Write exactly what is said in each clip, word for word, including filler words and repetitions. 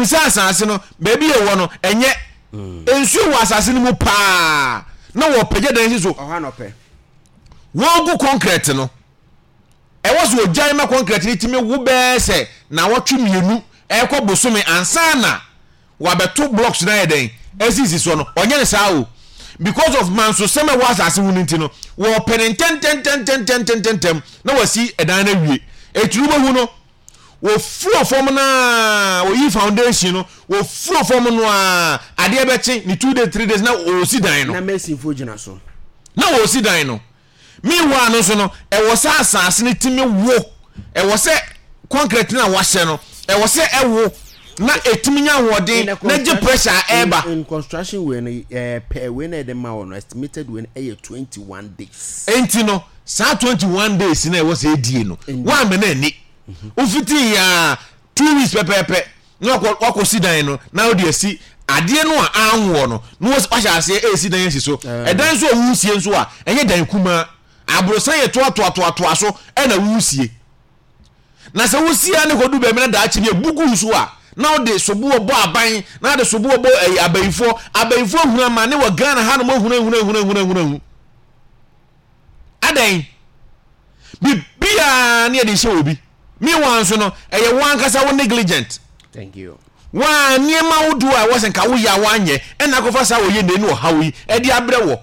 Wɔnim sɛ asase no baabi yɛ wɔ no, ɛnyɛ nsuo wɔ asase no mu paa na wɔpagya dan si so. Ɔhɔ anɔpɛ. Wɔgu concrete no, ɛwɔ so ogyae ma concrete no tumi wo bɛɛ sɛ na wɔtwe mmienu ɛkɔ bosome ansa na wabɛto blocks no ayɛ dɛn asisi soɔ no. Ɔnyɛ ne saa o, because of mansosɛm a ɛwɔ asase ho no nti no, wɔpɛ ne ntɛntɛntɛntɛntɛntɛntɛm na wasi ɛdan no awie. Eturu bɛhu no, wɔfuro fam naa, wɔyi foundation no, wɔfuro fam no a, adeɛ bɛkye ne two days, three days na wɔsi dan no. Na masonfoɔ gyina so. Na wɔsi dan no. Meanwhile no nso no, ɛwɔ sɛ asase no tumi wo, ɛwɔ sɛ concrete no a wahyɛ no, ɛwɔ sɛ ɛwo na ɛtumi nya ahoɔden na gye pressure a ɛreba. in, in construction wei no, ɛɛ pɛ wei na yɛde ma wɔ no, estimated wei no ɛyɛ twenty one days. Enti no, saa twenty one days na ɛwɔ sɛ ɛdie no, woammɛ no ani wofitii a two weeks pɛpɛɛpɛ na wakɔ wakɔsi dan no, na wode asi adeɛ no a anwoɔ no na wahyɛ aseɛ ɛresi dan asi so. Ɛdan nso a woresie nso a, ɛnyɛ dan kumaa, aborosan yɛ toatoatoatoa so ɛna woresie. Na sɛ wosie a ne kɔdu baabi na daakye bi ebu gu so a, na wode soboɔ bɔ aban, na wode soboɔ bɔ ɛyi abayifoɔ. Abayifoɔ hunu amane wɔ Ghana hanom, ahunu ahunu ahunu ahunu ahunu ahunu adɛn? Biribiara ne yɛde hyɛ obi. Meanwhile nso no, ɛyɛ wo ankasa wo negligent. Thank you. Waa nneɛma ahodoɔ a ɛwɔ sɛ nka woyɛ a woanyɛ, ɛna akɔfa saa wɔyɛ nnɛ ne ɔhaw yi ɛde abrɛ wɔ.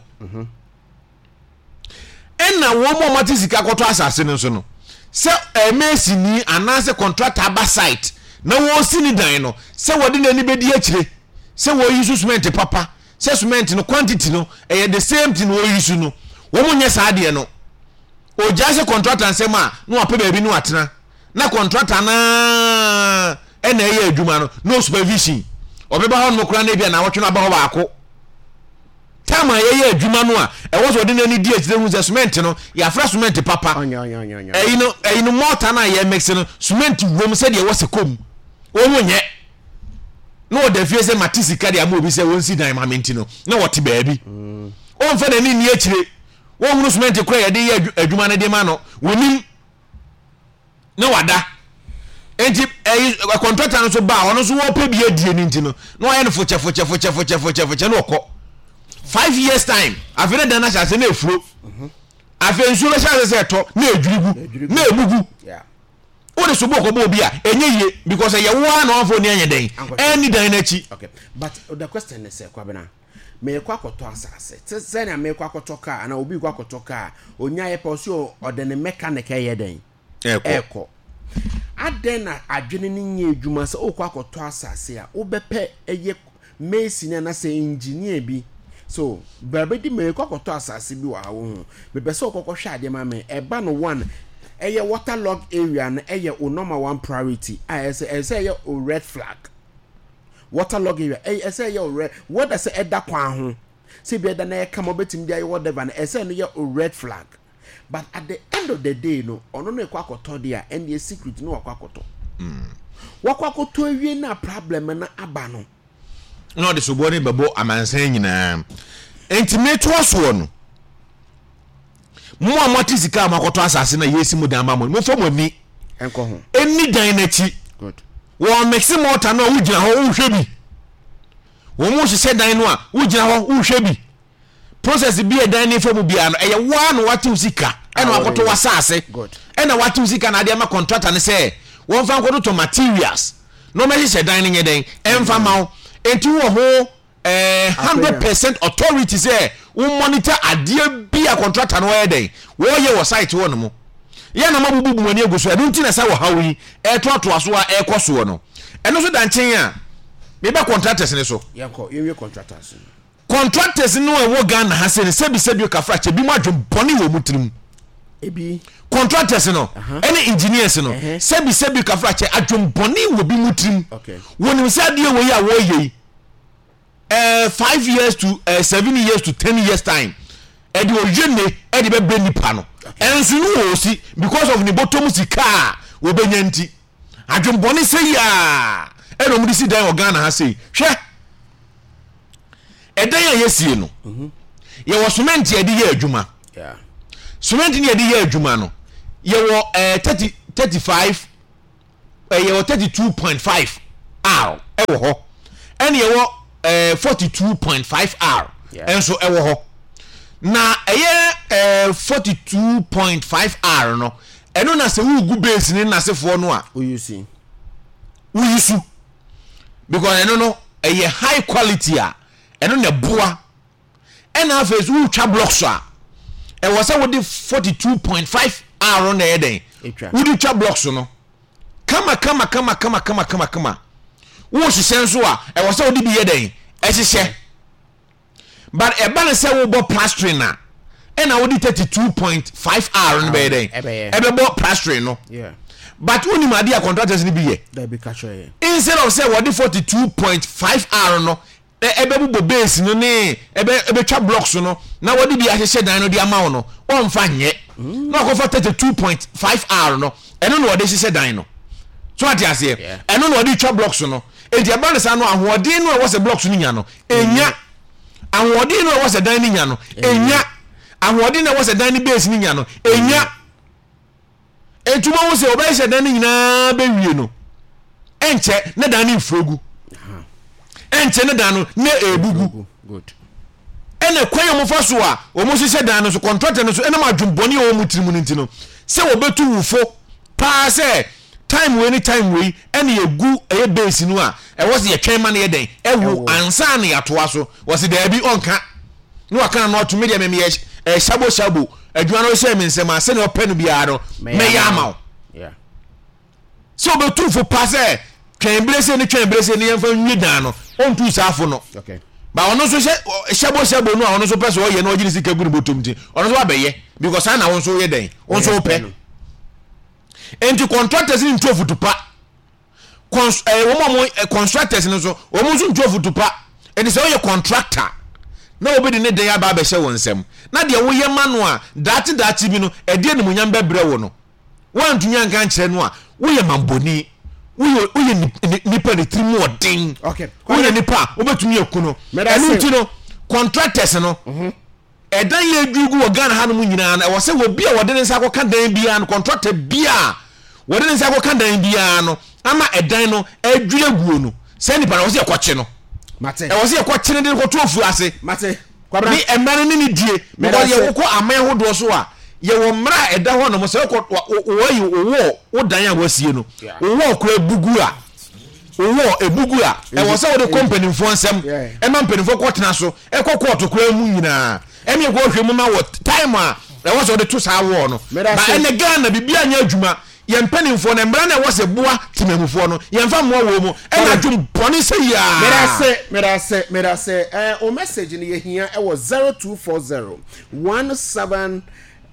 Ɛna wɔn a wɔate sika kɔtɔ asase no nso no, sɛ ɛmɛsini anaasɛ contractor aba site na wɔresi ne dan no, sɛ wɔde n'ani bɛdi akyire sɛ wɔyi so cement papa, sɛ cement no quantity no ɛyɛ the same thing wɔyi so no, wɔn nyɛ saa adeɛ no. Ogyaa sɛ contractor nsɛm a, na wapɛ baabi no atena, na contractor naa ɛna ɛyɛ adwuma no, no supervision. Ɔbɛba hɔ nom koraa na ebi a na awɔtwe no aba hɔ baako. Time a yɛyɛ adwuma no a, ɛwɔ sɛ ɔde n'ani di akyire hu sɛ cement no yɛafra cement papa, ɛyi no ɛyi no mortar no a yɛ mix no, cement wom sɛdeɛ ɛwɔ sɛ kɔm. Wɔn nyɛ na ɔda fie sɛ mate sika de ama obi sɛ wɔnsi dan ma me nti no, na wɔte baabi, ɔmfa n'ani nni akyire, wɔnhunu cement kora yɛde yɛ adwuma no de ma no, wɔnim na wada. Nti ɛyi contractor no nso ba a, ɔno nso wɔpɛ bi adie no nti no, na wayɛ no fokyɛ fokyɛ fokyɛ fokyɛ fokyɛ fokyɛ na ɔkɔ. Five years time, afei ne dan no ahyɛ ase na efuro. Afei nsuo bɛhyɛ ase sɛ ɛtɔ na edwiri gu na ebu gu. Wode so bɔ kɔbɔ obi a, ɛnyɛ yie, because ɛyɛ wo ara na wɔnfɔ ni anyɛ dɛn ɛnni dan n'akyi. Okay, but the question is sɛ, Kwabena, meekɔ akɔtɔ asase te sɛnea meekɔ akɔtɔ kaa anaa obi kɔ akɔtɔ kaa, onya yɛ pɛ, ɔso ɔde ne mechanic ɛyɛ dɛn? Ɛkɔ. Ɛkɔ adɛn na adwene no nyɛ adwuma sɛ wokɔ akɔtɔ asase a, wobɛpɛ ɛyɛ mason anaasɛ engineer bi so baabi di, meekɔ akɔtɔ asase bi wɔ ha, wo ho mepɛ sɛ wokɔkɔ hwɛ adeɛ ma me. Ɛba no, one, ɛyɛ waterlog area no, ɛyɛ o number one priority a ɛsɛ ɛsɛ ɛyɛ o red flag. Waterlog area ɛyɛ ɛsɛ ɛyɛ o red, whether sɛ ɛda kwan ho, sɛ ebi ɛda na ɛyɛ kama, wobɛtumi de ayɛ whatever no, ɛsɛ no yɛ o red flag. But at the end of the day no, ɔno no ɛkɔ akɔtɔ deɛ a, ɛndeɛ secret no, wakɔ akɔtɔ, wakɔ akɔtɔ awie na problem no aba no. Na ɔde soboɔ no bɛbɔ amansan nyinaa. Nti metoa soɔ no, mo a moate sika a moakɔtɔ asase na yɛsi mo dan ma mo, momfa mo ani ɛnkɔ ho. Ɛnni dan n'akyi. Good. Wɔn mix mortar no a, wogyina hɔ wohwɛ bi. Wɔn mo hyehyɛ dan no a, wogyina hɔ wohwɛ bi. Process bi a dan ne fa mu biara no, ɛyɛ woa na watew sika ɛna Ah, wakɔtɔ wɔde- w'asase Good. ɛna watew sika na ade ama contractor no sɛ wɔmfa nkɔtotɔ materials na wɔmɛhyehyɛ dan no nyɛ dɛn ɛmfa ma wo. Enti wɔ ho ɛɛ hundred percent authority sɛ wo monitor adeɛ bi a contractor no wɔyɛ dɛn wɔyɛ wɔ site hɔ nom. Yɛn na ma bubu mu ani agu so. Ɛno nti na sɛ wɔhaw yi ɛtoatoa so a ɛkɔ soɔ no, ɛno nso da nkyɛn a, mebɛ contractors ne so. Yɛnkɔ, yɛnwie contractors no. Contractors no a ɛwɔ Ghana ha sɛ no, sɛbisɛbi kafra kyɛ bi mu, adwen bɔne wɔ mu tirim. Ebi. Contractors no ɛne engineers no, Ɛhɛ. sɛbisɛbi kafra kyɛ, adwen bɔne wɔ bi mu tirim. Okay. Wɔnim sɛ adeɛ wɔ yi a wɔreyɛ yi, ɛɛ five years to ɛɛ seven years to ten years time, ɛde oyɛ ne ɛde bɛbrɛ nipa no. Ɛnso no wɔ osi because of ne bɔtɔm sika a wɔbɛnya nti, adwen bɔne sɛ yi a ɛna wɔn de si dan wɔ Ghana ha sei. Hwɛ, ɛdan a yɛsie no, yɛwɔ cement a yɛde yɛ adwuma. Yeah. Cement ne yɛde yɛ adwuma no, yɛwɔ ɛɛ thirty thirty five, ɛyɛ wɔ thirty two point five R. ɛwɔ hɔ, ɛna yɛwɔ ɛɛ forty two point five R ɛnso ɛwɔ hɔ. Na ɛyɛ ɛɛ forty two point five R no, ɛno na sɛ wugu base ne n'asefoɔ no a, woyi woyi su, because ɛno no ɛyɛ high quality a ɛno na ɛboa. Ɛna afei so wotwa blocks a, ɛwɔ sɛ wode forty two point five R na ɛyɛ dɛn, wode twa blocks no kama kama kama kama kama kama kama. Wohyehyɛ nso a, ɛwɔ sɛ wode bi yɛ dɛn, ɛhyehyɛ. But ɛba ne sɛ wobɔ plastering a, ɛna wode thirty two point five R no bɛyɛ dɛn, ɛbɛbɔ plastering no. But wonim adeɛ a contractors no bi yɛ, instead of sɛ wɔde forty two point five R no ɛbɛbobɔ base no ne ɛbɛ ɛbɛtwa blocks no na wɔde bi ahyehyɛ dan no de ama wo no, wɔmfa nyɛ na ɔkɔfa thirty two point five R no, ɛno na wɔde hyehyɛ dan no so, ate aseɛ? Ɛno na wɔde twa blocks no. Eti ɛba ne saa no, ahoɔden no a ɛwɔ sɛ blocks no nya no enya, ahoɔden no a ɛwɔ sɛ dan no nya no enya, ahoɔden no a ɛwɔ sɛ dan no base no nya no enya. Etu mo ho sɛ ɔbɛhyehyɛ dan no nyinaa bɛwie no, ɛnkyɛ ne dan no mfuro gu, ɛnkyɛ ne dan no na ebugu. Ɛna kwan a wɔfa so a wɔn hyehyɛ dan no so, contractor no so, ɛnam adwembɔne a wɔn tirim no nti no, sɛ wɔbɛtu wufo paa sɛ time wei ne time wei ɛna yɛgu ɛyɛ base no a, ɛwɔ sɛ yɛtwɛn ma no yɛ dɛn, ɛwo ansa na yɛatoa so. Wɔsi daabi, ɔnka na waka no ɔtumi deɛ mɛmɛ yɛ ɛɛ sabo sabo adwuma no hyɛ mi nsɛm a, sɛnea ɔpɛ no biara no mɛyɛ ama wo. Sɛ ɔbɛtu fo pa sɛ twɛn bere se ne twɛn bere se ne yɛmfa nwie dan no, ɔntu saa fo no. Ba ɔno nso hyɛ hyɛbo hyɛbo no a, ɔno nso pɛ sɛ ɔyɛ na ɔgye ne sika gu ne bɔtɔm, ti ɔno nso abɛyɛ because saa na wɔn nso yɛ dɛn, wɔn nso pɛ. Nti contractors ne ntu afutu pa, cons ɛɛ wɔn a wɔn constructors no nso, wɔn nso ntu afutu pa. Nti sɛ ɔyɛ contractor na obi de ne dan aba abɛhyɛ wɔn nsam na deɛ woyɛ ma no a, daakye daakye bi no ɛde animuonyam bɛbrɛ wo no, woantumi anka nkyerɛ no a, woyɛ mambɔni, woyɛ woyɛ nipa ne tiri mu ɔden, woyɛ nipa a wobɛtumi aku no. Ɛno nti no, contractors no, ɛdan yɛ adwiri gu wɔ Ghana hanom nyinaa no, ɛwɔ sɛ obi a wɔde ne nsa akɔka dan biara no, contractor biara wɔde ne nsa akɔka dan biara no ama ɛdan no adwiri aguo no, sɛ nipa no, ɛwɔ sɛ yɛkɔkye no, ɛwɔ sɛ yɛkɔkye no de no kɔto afuo ase ne mmara no ne ne die, because yɛwokɔ aman ahodoɔ so a, yɛwɔ mmara a ɛda hɔ nom sɛ wokɔ wɔyi wowɔ wo dan a wasie no, wowɔ kora ebugu a, wowɔ ebugu a, ɛwɔ sɛ wode kɔ mpanimfoɔ nsɛm, ɛma mpanimfoɔ kɔtena so, ɛkɔ kɔɔto koraa mu nyinaa, ɛne ɛkɔ hwɛ mu ma wɔ time a ɛwɔ sɛ wode to saa wɔɔ no. Ba ɛnɛ Ghana biribi anyɛ adwuma. Yɛn mpanimfoɔ no, mmara no ɛwɔ sɛ boa temamufoɔ no, yɛmfa mmoa wɔ mu, ɛna adwom bɔne sɛ yiaa. Medase, medase, medase. Ɛɛ o, message no yɛhia ɛwɔ zero two four zero one seven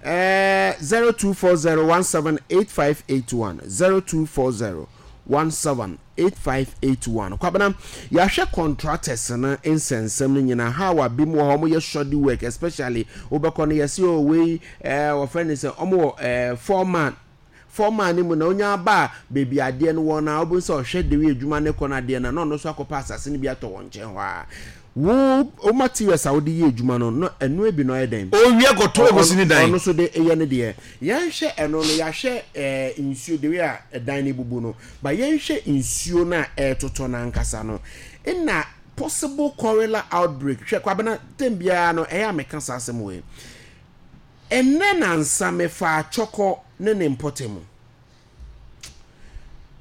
ɛɛ zero two four zero one seven eight five eight one zero two four zero one seven eight five eight one. Kwabena, yɛahwɛ contractors no nsɛnsɛm no nyinaa, how a bi mu wɔ hɔ wɔyɛ shoddy work, especially wobɛkɔ no, yɛse o wei ɛɛ wɔfrɛ no sɛ wɔn wɔ ɛɛ foreman foreman no mu na onya aba a, beebi adeɛ no wɔ na wobɛhu sɛ ɔhwɛ de wei adwuma ne kɔ no adeɛ no, na ɔno nso akɔpɛ asase no bi atɔ wɔn nkyɛn hɔ a, wo wo materials a wode yɛ adwuma no no, ɛno ebi na ɔyɛ dɛn. Owia kɔtɔ ekosi ne dan. Ɔno nso de yɛ ne deɛ. Yɛnhwɛ ɛno no, yɛahwɛ ɛɛ nsuo de wei a ɛdan no ebubu no, ba yɛnhwɛ nsuo no a ɛretotɔ no ankasa no, ɛna possible cholera outbreak. Hwɛ Kwabena, tem biara no ɛyɛ a meka saa asɛm wei. Ɛnɛ nansa mefa atwɔkɔ ne ne mpɔtam mu,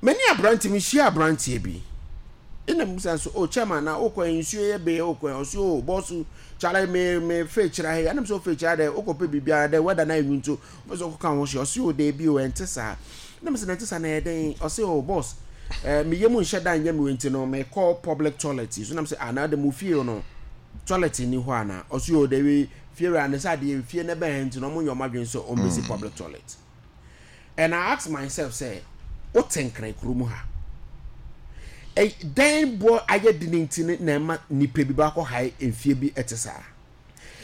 mani aberante, mehyia aberanteɛ bi, ɛna musa nso, "Oh chairman, na wokɔ nsuo yɛ bɛyɛ wokɔ?" Ɔso, "Oh boss, kyale, me me fe kyerɛ ha yi." Ɛnam sɛ ofe kyerɛ dɛ wokɔ pɛ biribiara dɛ wɛda na enwu nso wopɛ sɛ wokɔka ho hyɛ. Ɔso, "Oh daabi o, ɛnte saa." Ɛnam sɛ na ɛnte saa na ɛyɛ dɛn? Ɔso, "Oh boss, ɛɛ me yam nhyɛ da nyɛ me nti no mekɔ public toilet yi so." Nam sɛ, "Ah, na de mo fie no toilet ni hɔ ana?" Ɔso, "Oh daabi, fie wura ne sɛ adeɛ fie ne bɛn nti no ɔmo nyɛ ɔmo adwene sɛ ɔmo bɛsi public toilet." And I ask myself sɛ, wote Nkran kurom ha, dan boɔ ayɛ de ne nti no na ɛma nipa bi baakɔ hae mfie bi ɛte saa,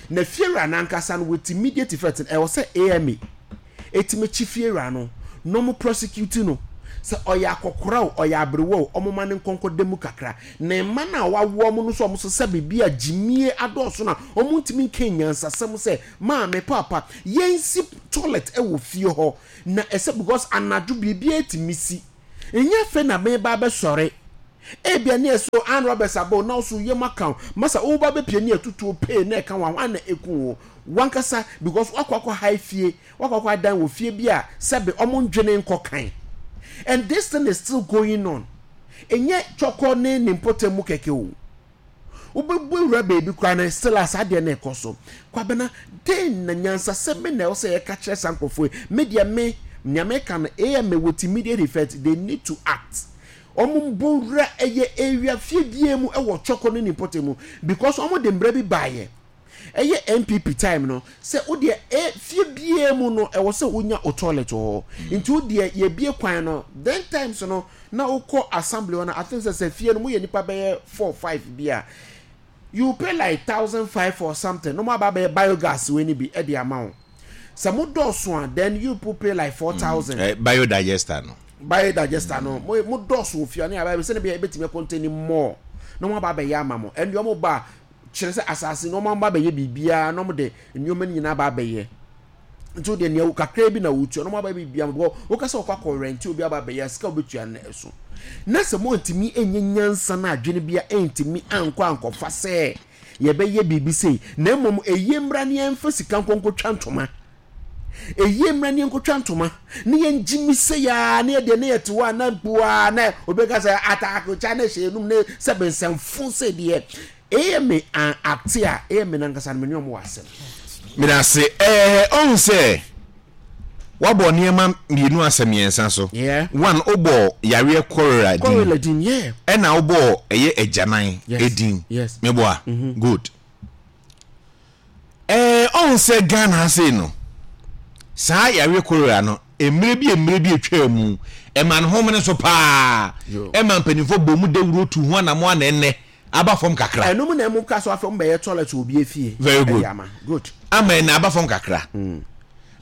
na fiewura n'ankasa no with immediate effect no, ɛwɔ sɛ A M A etimi kyi fiewura no na ɔmo prosecute no, sɛ ɔyɛ akɔkora o, ɔyɛ aberewa o, ɔmo ma ne nkɔnkɔ da mu kakra. Na mma no a wawoɔ ɔmo no so, ɔmo so sɛ biribi a gyimie adɔɔso na ɔmo ntumi nka nyansasɛm sɛ maame, papa, yɛnsi toilet ɛwɔ fie hɔ na ɛsɛ, because anadwo biribi etimi si. Nyɛ afei na meba abɛsɔre Ebia ne ɛso armed robbers aba na ɔso yam aka wo. Masa woba bɛpie ne ɛtutuo pee na ɛka wo a, hwan na ɛku wo? Wankasa, because wakɔ akɔ hae fie, wakɔ akɔ adan wɔ fie bi a sɛbe ɔmo ndwene nkɔ kan. And this thing is still going on. Ɛnyɛ Twɔkɔ ne ne mpɔtam mu kɛkɛ o. Wobɛbu awura baabi koraa no, still a saa adeɛ no ɛkɔ so. Kwabena, dɛn na nyansasɛm bi na ɛwɔ sɛ yɛka kyerɛ saa nkurɔfoɔ yi? Me deɛ me, nea meka no, A M A with immediate effect, they need to act. Ɔmo mbɔ wura ɛyɛ area fie biara mu ɛwɔ Twɔkɔ ne ne mpɔtam mu, because ɔmo de mbra bi baayɛ. Ɛyɛ N P P time no, sɛ wodeɛ e fie biara mu no, ɛwɔ sɛ wonya o toilet wɔ hɔ. Nti wodeɛ yɛbie kwan no, then times no, na wokɔ assembly hɔ no, I think sɛ sɛ fie no moyɛ nipa bɛyɛ four five bi a, you pay like thousand five or something na mo aba abɛyɛ biogas wei ni bi ɛde ama wo. Sɛ mo dɔɔso a, then you people pay like four thousand. Eh, biodigester no. Biodigester no, mo mo dɔɔso wɔ fie a, ne aba sɛ ne bɛyɛ ebetumi contain more na mo aba abɛyɛ ama mo. Ɛnna ɔmo ba kyerɛ sɛ asase na ɔmo aba abɛyɛ biribiara na ɔmo de nneɛma no nyinaa aba abɛyɛ. Nti o deɛ, nea kakra bi na wotua na ɔmo aba biribiara bɔ. Wokasa wɔkɔ akɔ rent, obi aba abɛyɛ, sika obetua no ɛso. Na sɛ mo ntumi enye nyansa na adwene bia ntumi ankɔ ankɔfa sɛ yɛbɛyɛ biribi sei, na mmom eyie mmra ne yɛmfa sika nkɔnkɔtwa ntoma, eyie mmra ne yɛnkɔtwa ntoma ne yɛngye mi sɛ yaa ne yɛdeɛ ne yɛte hɔ a na mpoa na obi ka sɛ ataakokya ne hyɛ enum ne sɛ bɛnsɛmfo sɛ deɛ ɛyɛ me an ate a ɛyɛ me nankasa no, me ne ɔmo wɔ asɛm. Meda ase. Ɛɛ, ɔhu sɛ wabɔ nneɛma mmienu asɛ mmiɛnsa so. Yeah. One, wobɔ yareɛ cholera din. Cholera din, yeah. Ɛna wobɔ ɛyɛ agyanan Yes. edin. Yes. Meboa? Good. Ɛɛ, ɔhu sɛ Ghana ha sei no, saa yareɛ cholera no, mmerɛ bi mmerɛ bi atwaa mu, ɛma ne homene so paa. Yo. Ɛma mpanimfoɔ bɔ mu dawuro tu ho anamo ana ɛnnɛ aba fam kakra. Ɛnum na ɛmu ka so afɛ ɔmo bɛyɛ toilet wɔ obi efie. Very good. Ɛde ama good. Ama ɛnɛ aba fam kakra,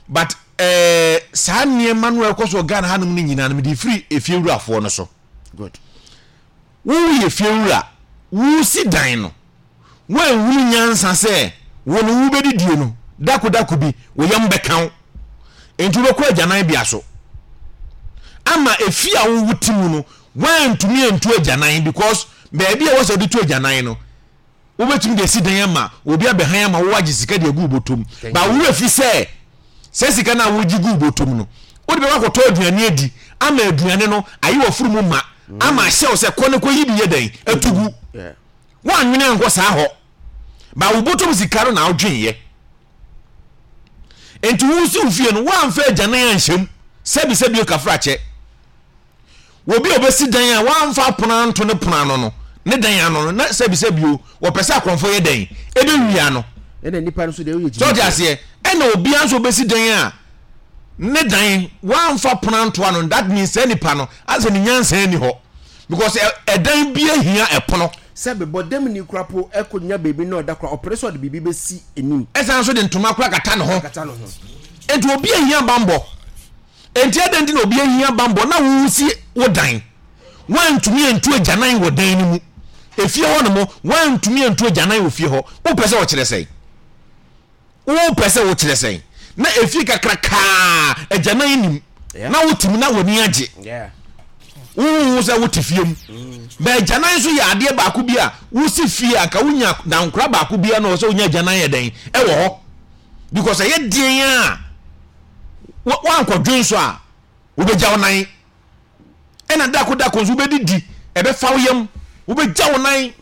but ɛɛ saa nneɛma no a ɛkɔ so wɔ Ghana hanom no nyinaa no, mede firi efiewurafoɔ no so. Good. Woyɛ fiewura, wosi dan no, woanhunu nyansa sɛ wo no wobɛdidie no, dako dako bi wo yam bɛka wo, nti wobɛkɔ agyanan bea so ama efi a wowo ti mu no, woantumi antu agyanan, because baabi a wɔsɛ wode tu agyanan no, wobɛtumi de asi dan ama obi abɛhan ama wo agye sika de agu wo bɔtɔm. Thank ba you. Wowura fi sɛ sɛ sika no a wogye gu wo bɔtɔm no, wode bɛkɔ akɔtɔ aduane adi ama aduane no ayɛ wɔ mu ma ama ahyɛ wo sɛ kɔ ne kɔyi bi yɛ dɛn atu gu. Yeah. Woanwene ankɔ saa hɔ ba wo bɔtɔm sika no na wodwenyɛ, nti wosi wo fie no, woamfa agyanan anhyɛm. Sɛbi sɛbi, okafra kyɛ obi a obɛsi dan a woamfa apono anto ne pono ano no ne dan ano no, na sɛbi sɛbi o, wɔpɛ sɛ akɔmfo yɛ dɛn ɛbɛwia no. Ɛna nipa no so deɛ oyɛ. Sɛ ɔte aseɛ, ɛna obiara nso obɛsi dan a ne dan woamfa pono anto ano, that means sɛ nipa no asɛ ne nyansa ni hɔ, because ɛ- ɛdan bi ahia ɛpono. Sɛ bɛbɔ dɛm ni kora po ɛkɔ nya beebi na ɔda kora, ɔpere sɛ ɔde biribi bɛsi anim. Ɛsan so de ntoma kora kata ne ho. Kata ne ho. Nti obi ahia bambɔ, nti ɛdɛn nti na obi ahia bambɔ na wosi wo dan, woantumi antu agyanan wɔ dan no mu, efie hɔ nom woantumi antu agyanan wɔ fie hɔ? Wopɛ sɛ wɔkyerɛ sɛn? Wopɛ sɛ wokyerɛ sɛn na efie kakrakaa agyanan nim Yeah. na wotumi na w'ani agye? Yeah. Wohu sɛ wote fie mu bɛ, agyanan nso yɛ adeɛ baako bi a wosi fie a nka wonya dankora baako bi a na ɔwɔ sɛ wonya agyanan yɛ dɛn ɛwɔ hɔ, because ɛyɛ deɛn a wa- wankɔdwen so a wobɛgya wo nan, ɛna dako dako nso wobɛdidi ɛbɛfa wo yam, wobɛgya wo nan.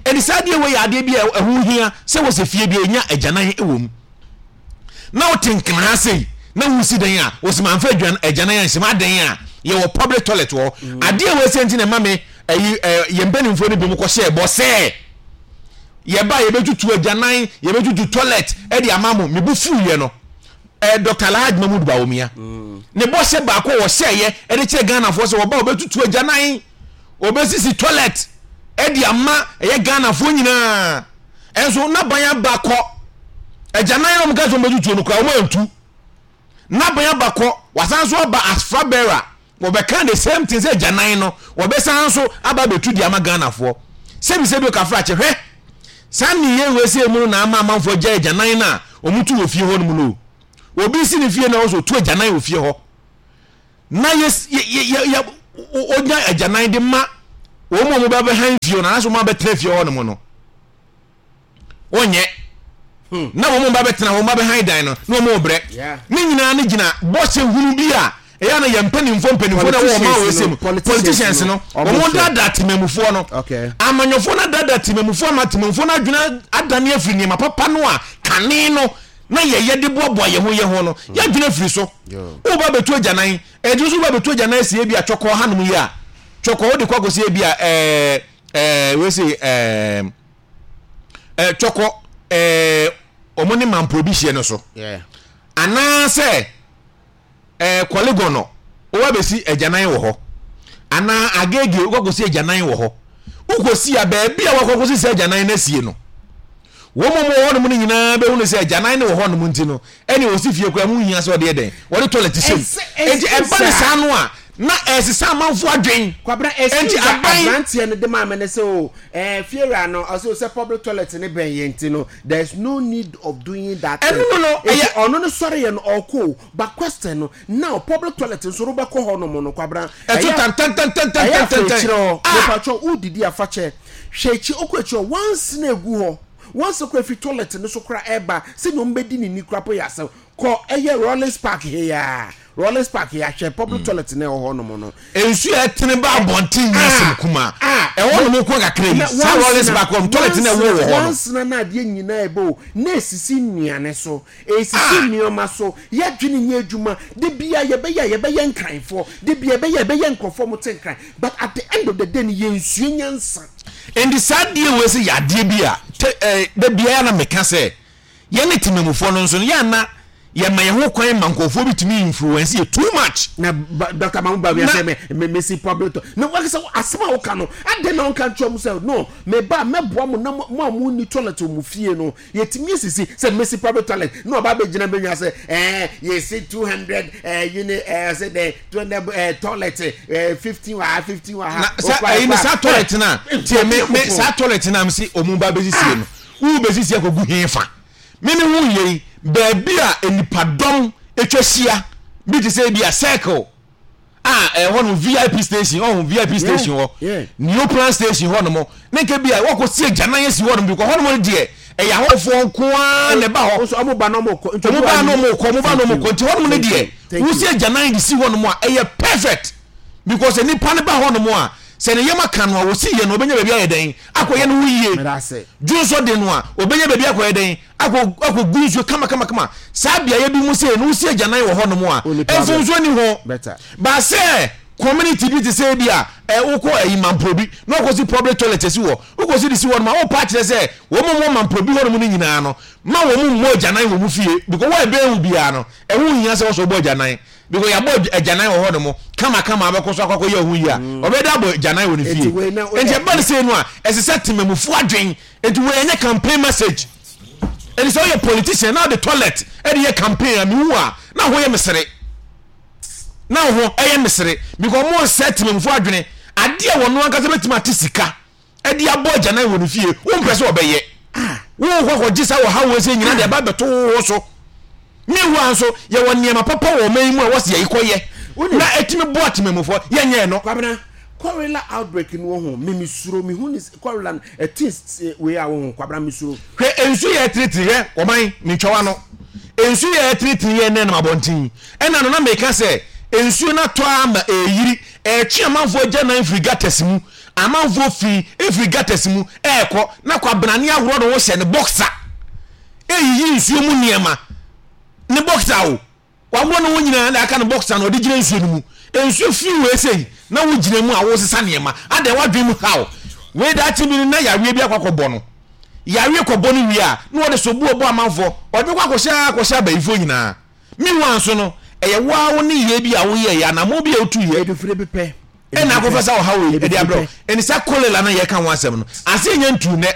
Ɛne saa adeɛ wei yɛ adeɛ bi a ɛho hia sɛ wɔ sɛ fie bi a ɛnya agyanan wɔ mu. Na wote Nkran sei na wosi dan a wɔsi manfa agyanan anhyɛm adan a yɛwɔ public toilet wɔ hɔ. Adeɛ wɔ ɛsɛ nti na ɛma me ɛyi ɛɛ yɛn mpanimfoɔ no bi mu kɔhyɛ ɛbɔ sɛ yɛba yɛbɛtutu agyanan, yɛbɛtutu toilet ɛde ama mo. Mebu fuiɛ no, ɛɛ Doctor Alhaji Mahmood Bawumia ne bɔhyɛ baako a wɔhyɛeɛ ɛde kyerɛ Ghanafoɔ sɛ wɔba wɔbɛtutu agyanan, wɔbɛsisi toilet ɛde ama ɛyɛ Ghanafoɔ nyinaa. Ɛnso n'aban aba kɔ, agyanan na wɔn ka sɛ wɔbɛtutu no koraa wɔn antu. N'aban aba kɔ, wasan so aba as flag bearer, wɔbɛka the same thing sɛ agyanan no wɔbɛsan so aba abɛtu de ama Ghanafoɔ. Sɛbi sɛbi, okafra kyɛ, hwɛ saa nneyɛ wei sɛ mu no na ama amanfoɔ gya agyanan no a wɔn tu wɔ fie hɔ nom no. Obi si ne fie na ɔsɔ tu agyanan wɔ fie hɔ na yɛ yɛ yɛ yɛ onya agyanan de ma Wɔn mu a wɔbɛbɛ han fie no anaasɛ wɔn abɛtena fie hɔ nom no, wɔnyɛ Hmm. Na wɔn mu ba bɛtena, wɔn ba bɛhan dan no na wɔn brɛ. Ne nyinaa no gyina bɔhyɛ hunu bi a ɛyɛ na yɛn mpanimfoɔ mpanimfoɔ na wɔn ma wɔn ɛsɛ mu, politicians no, wɔn daadaa temamufoɔ no, amanyɔfoɔ no daadaa temamufoɔ ama temamufoɔ no adwene adane afiri nneɛma papa no a kane no na yɛyɛ de boaboa yɛn ho yɛn ho no. hmm. Yɛadwene afiri so. Woba bɛtu agyanan, ɛdi nso woba bɛtu agyanan sie bi a twɔkɔɔ hanom yi a twɔkɔɔ wode kɔ akɔsie bi a ɛɛ ɛɛ wei sɛ ɛɛ ɛɛ twɔkɔ ɛɛ wɔn ne mampuro bi hyia no so, anaasɛ ɛɛ kɔlegon no woba bɛsi agyanan wɔ hɔ, anaa Agege wokɔ akɔsi agyanan wɔ hɔ. Wokɔsi a, baabi a wakɔ akɔsi sɛ agyanan no asie no, wɔn mu wɔ hɔnom no nyinaa bɛhunu sɛ agyanan no wɔ hɔnom, nti no ɛne wɔsi fie koraa mu hia sɛ ɔde yɛ dɛn, wɔde toilet hyɛ mu. Nti ɛba ne saa no a, na ɛsesa amanfo adwen. Kwabena, nti excuse a aban aberanteɛ no de maa me ne sɛ o ɛɛ fiewura no ɔsɛ o sɛ public toilet ne bɛn yɛn ti no, there is no need of doing that thing. Ɛno no no eti ɛyɛ ɔno no sɔre yɛ no ɔkɔ o, but question no now, public toilet nso no bɛkɔ hɔ nom no, Kwabena, ɛto ɛyɛ ɛyɛ tantantantantantantan afɛkyerɛ hɔ a mepatwɔ wodidi afakyɛ hwɛ akyi, okɔ akyi hɔ once na egu hɔ once kora fi toilet no so kora ɛba sɛnea wɔn bɛdi ne ni kora po yɛ asɛm. Kɔ ɛyɛ Rollins Park he ya Rollins Park he ahwɛ public toilet na ɛwɔ hɔ nom no. Nsu a ɛtene ba abɔnten nyɛ asɛm Ah kuma. Ah ɛwɔ nom kɔ kakra yi na saa Rollins wansena Park hɔ toilet na ɛwɔ wansena wɔ hɔ no. Wansena na adeɛ nyinaa ɛbɛ o na esisi nnuane so, esisi ah nneɛma so. Yɛadwene nyɛ adwuma de bia yɛbɛyɛ a yɛbɛyɛ nkranfoɔ de bia yɛbɛyɛ yɛbɛyɛ nkurɔfoɔ mo te Nkran, but at the end of the day no yɛnsua nyansa. Nti saa adeɛ wei sɛ yɛ adeɛ bi a te ɛɛ da biara na meka sɛ yɛne temamufoɔ no nso no yɛ ana yɛma yɛn ho kwan ma nkurɔfoɔ bi tumi influence yɛ too much. Na ba- Doctor Mamu Bawumia na sɛ me me mesi public to na wakasa asɛm a woka no, adɛn na ɔnka nkyerɛ mu sɛ no me ba mɛboa mo na mo mo a mo ni toilet wɔ mo fie no yɛtumi asisi sɛ mesi public toilet na ɔba abɛgyina bɛnwa sɛ ɛɛ yɛsi two hundred ɛɛ unit ɛɛ sɛ dɛ two hundred ɛɛ toilet ɛɛ fifteen wɔ ha, fifteen wɔ ha. Na sa okura ɛyi no ɛkura saa toilet na tie me me saa toilet na me si ɔmo ba bɛsisie no, wo bɛsisi akɔgu he fa? Me me ho yɛ yi baabi a nipadɔm atwa hyia bi te sɛ ebi a Circle a ɛhɔ nom V I P station ɔho V I P yeah station hɔ, yeah Neoplan station hɔ nom, ne nka bi a wɔkɔ si agyanan asi hɔ nom bi kɔ hɔ nom no deɛ, ɛyɛ ahɔhofoɔ nko ara na ɛba hɔ. Nso ɔmo ba na ɔmo kɔ nti ɔmo obi ba wa na yi ɔmo kɔ, ɔmo ba na thank ɔmo you kɔ, nti hɔ nom no thank deɛ you thank wosi you agyanan de si hɔ nom a, ɛyɛ perfect because nipa no ba hɔ nom a, sɛ ne yam aka no a, wɔsi yɛ no ɔbɛnya baabi ayɛ dɛn akɔyɛ akɔ no ho yie. Mɛda ase. Dwonsɔ de no a, ɔbɛnya baabi akɔyɛ dɛn akɔ akɔgu nsuo kama kama kama. Saa beaeɛ bi mu sei no, wosi agyanan wɔ hɔ nom a, only problem mfomsoɔ ni ho. Better. Baasɛ community bi te sɛ bi a ɛ wokɔ ɛyi Mamprobi na wɔkɔsi public toilet asi hɔ, wokɔsi de si hɔ nom a, wopa akyerɛ sɛ wɔn mu wɔ Mamprobi hɔ nom no nyinaa no ma wɔn mu mmɔ agyanan wɔ mu fie, because wɔn ɛbɛn wo biara no, ɛho hia sɛ wɔsɔ bɔ agyanan because yɛabɔ agyanan wɔ hɔ nom kama kama abɛkɔ so akɔ akɔyɛ ɔho yie a, ɔbɛda abɔ agyanan wɔ ne eti fie. wei na Nti woyɛ ɛba no sei no a, ɛsɛ sɛ temamufoɔ adwen. Nti wei ɛnyɛ campaign message. Ɛnti sɛ woyɛ politician na wode toilet ɛde yɛ campaign a, mehu a na ho yɛ mesere, na ho ɛyɛ mesere because mo nsɛ temamufoɔ adwene. Adeɛ a wɔno ankasa bɛtumi ate sika ɛde abɔ agyanan wɔ ne fie, wompɛ sɛ ɔbɛyɛ. Ah wowokɔ akɔgye saa wɔ ha wɔ sɛ nyina de ɛba bɛto wo so. Meanwhile nso yɛwɔ nneɛma papa wɔ ɔman yi mu a wɔsi yɛyi kɔyɛ wonim na ɛtumi boa temamufoɔ, yɛnyɛ no. Kwabena, cholera outbreak no wɔ ho, me mesuro mehu ne s- cholera no ɛte wei a wɔ ho. Kwabena, mesuro. Hwɛ, nsu yɛ tiritiri, hwɛ ɔman mentwawa no, nsu yɛ tiritiri yɛ nɛ nam abɔnten ɛna no na meka sɛ nsuo no atɔ ama ɛyiri ɛtwe amanfoɔ agya nan firi gutters mu, amanfoɔ fi efiri gutters mu ɛɛkɔ na Kwabenane ahorɔ no ho hyɛ ne boxer ɛyiyi nsuo mu nneɛma, ne boxer o, waworɔ ne ho nyinaa na aka ne boxer na ɔde gyina nsuo no mu. Nsuo fi wei sei na wogyina mu a wosesa nneɛma adan wadwene mu haw wei daakye bi no na yareɛ bi akɔ akɔbɔ no, yareɛ kɔbɔ no wie a, na wɔde soboɔ bɔ amanfoɔ, ɔde bɛkɔ akɔhyɛ akɔhyɛ abayifoɔ nyinaa. Meanwhile nso no ɛyɛ waa wo ne yie bi a woyɛ yɛ anammɔn bi a wotu yɛ edufiri bi pɛ ɛna edufiri akɔfa pɛ sa ɔhaw wei ɛde edufiri abrɛ wo. pɛ. Ɛne sa cholera no yɛka ho asɛm no ase ɛnyɛ ntu nɛ,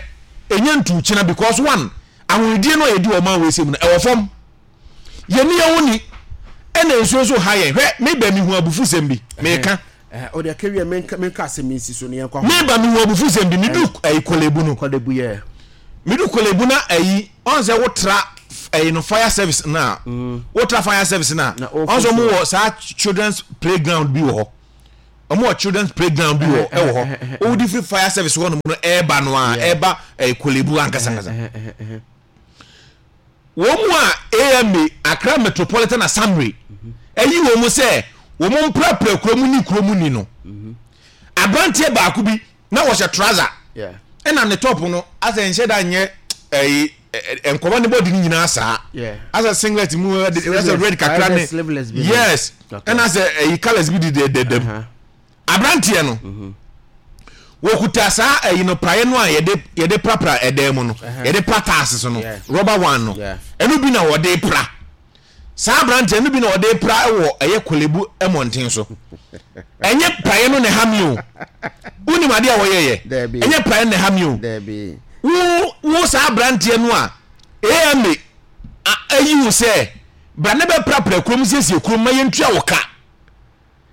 ɛnyɛ ntu kyena, because one, ahonidie no a yɛdi wɔ ɔman wei sɛ mu no ɛwɔ fam, yɛni yɛn ho ni, ɛna nsuo nso ha yɛn. Hwɛ, meba mehu abufusɛm bi meka. Ɔde akawie, menka menka asɛm yi nsi so ne yɛnkɔ ahoma. Meba mehu abufusɛm bi medu ɛyi Korle Bu no. Korle Bu yɛ. Medu Korle Bu na ɛyi ɔn sɛ wotra ɛyi no fire service na wotra fire service na na ɔn sɛ ɔfo ɔmo so wɔ saa children's playground bi wɔ hɔ. Ɔmo wɔ children's playground bi wɔ ɛwɔ hɔ. Wodi firi fire service hɔ nom no ɛɛba no a, ɛɛba ɛɛ Korle Bu ankasa ankasa. Wɔn mu a A M A, Accra Metropolitan Assembly, ayi wɔn mu sɛ wɔn mprapra kurom ni kurom ni no, aberanteɛ baako bi na wɔhyɛ trouser ɛna ne top no asɛ nhyɛ da nyɛ ɛyi nkɔmɔ ne bɔdi ne nyinaa saa, asɛ singlet mu asɛ red kakra ne, yes, ɛna asɛ ɛyi colours bi di dɛdɛdɛm. Aberanteɛ no mhm. wɔkuta saa ɛyi no, praeɛ no a yɛde yɛde prapra ɛdan mu no, yɛde pra tiles so no, rubber one no, ɛno bi na wɔde pra. Saa aberanteɛ no bi na wɔde pra wɔ ɛyɛ Korle Bu mmɔnten so. Ɛnyɛ praeɛ no na ɛha mi o. Wonim adeɛ a wɔyɛyɛ? Ɛnyɛ praeɛ no na ɛha mi o. Wo wo saa aberanteɛ no a A M A ayi wo sɛ bra ne bɛprapra kurom, siesie kurom ma yɛntua wo ka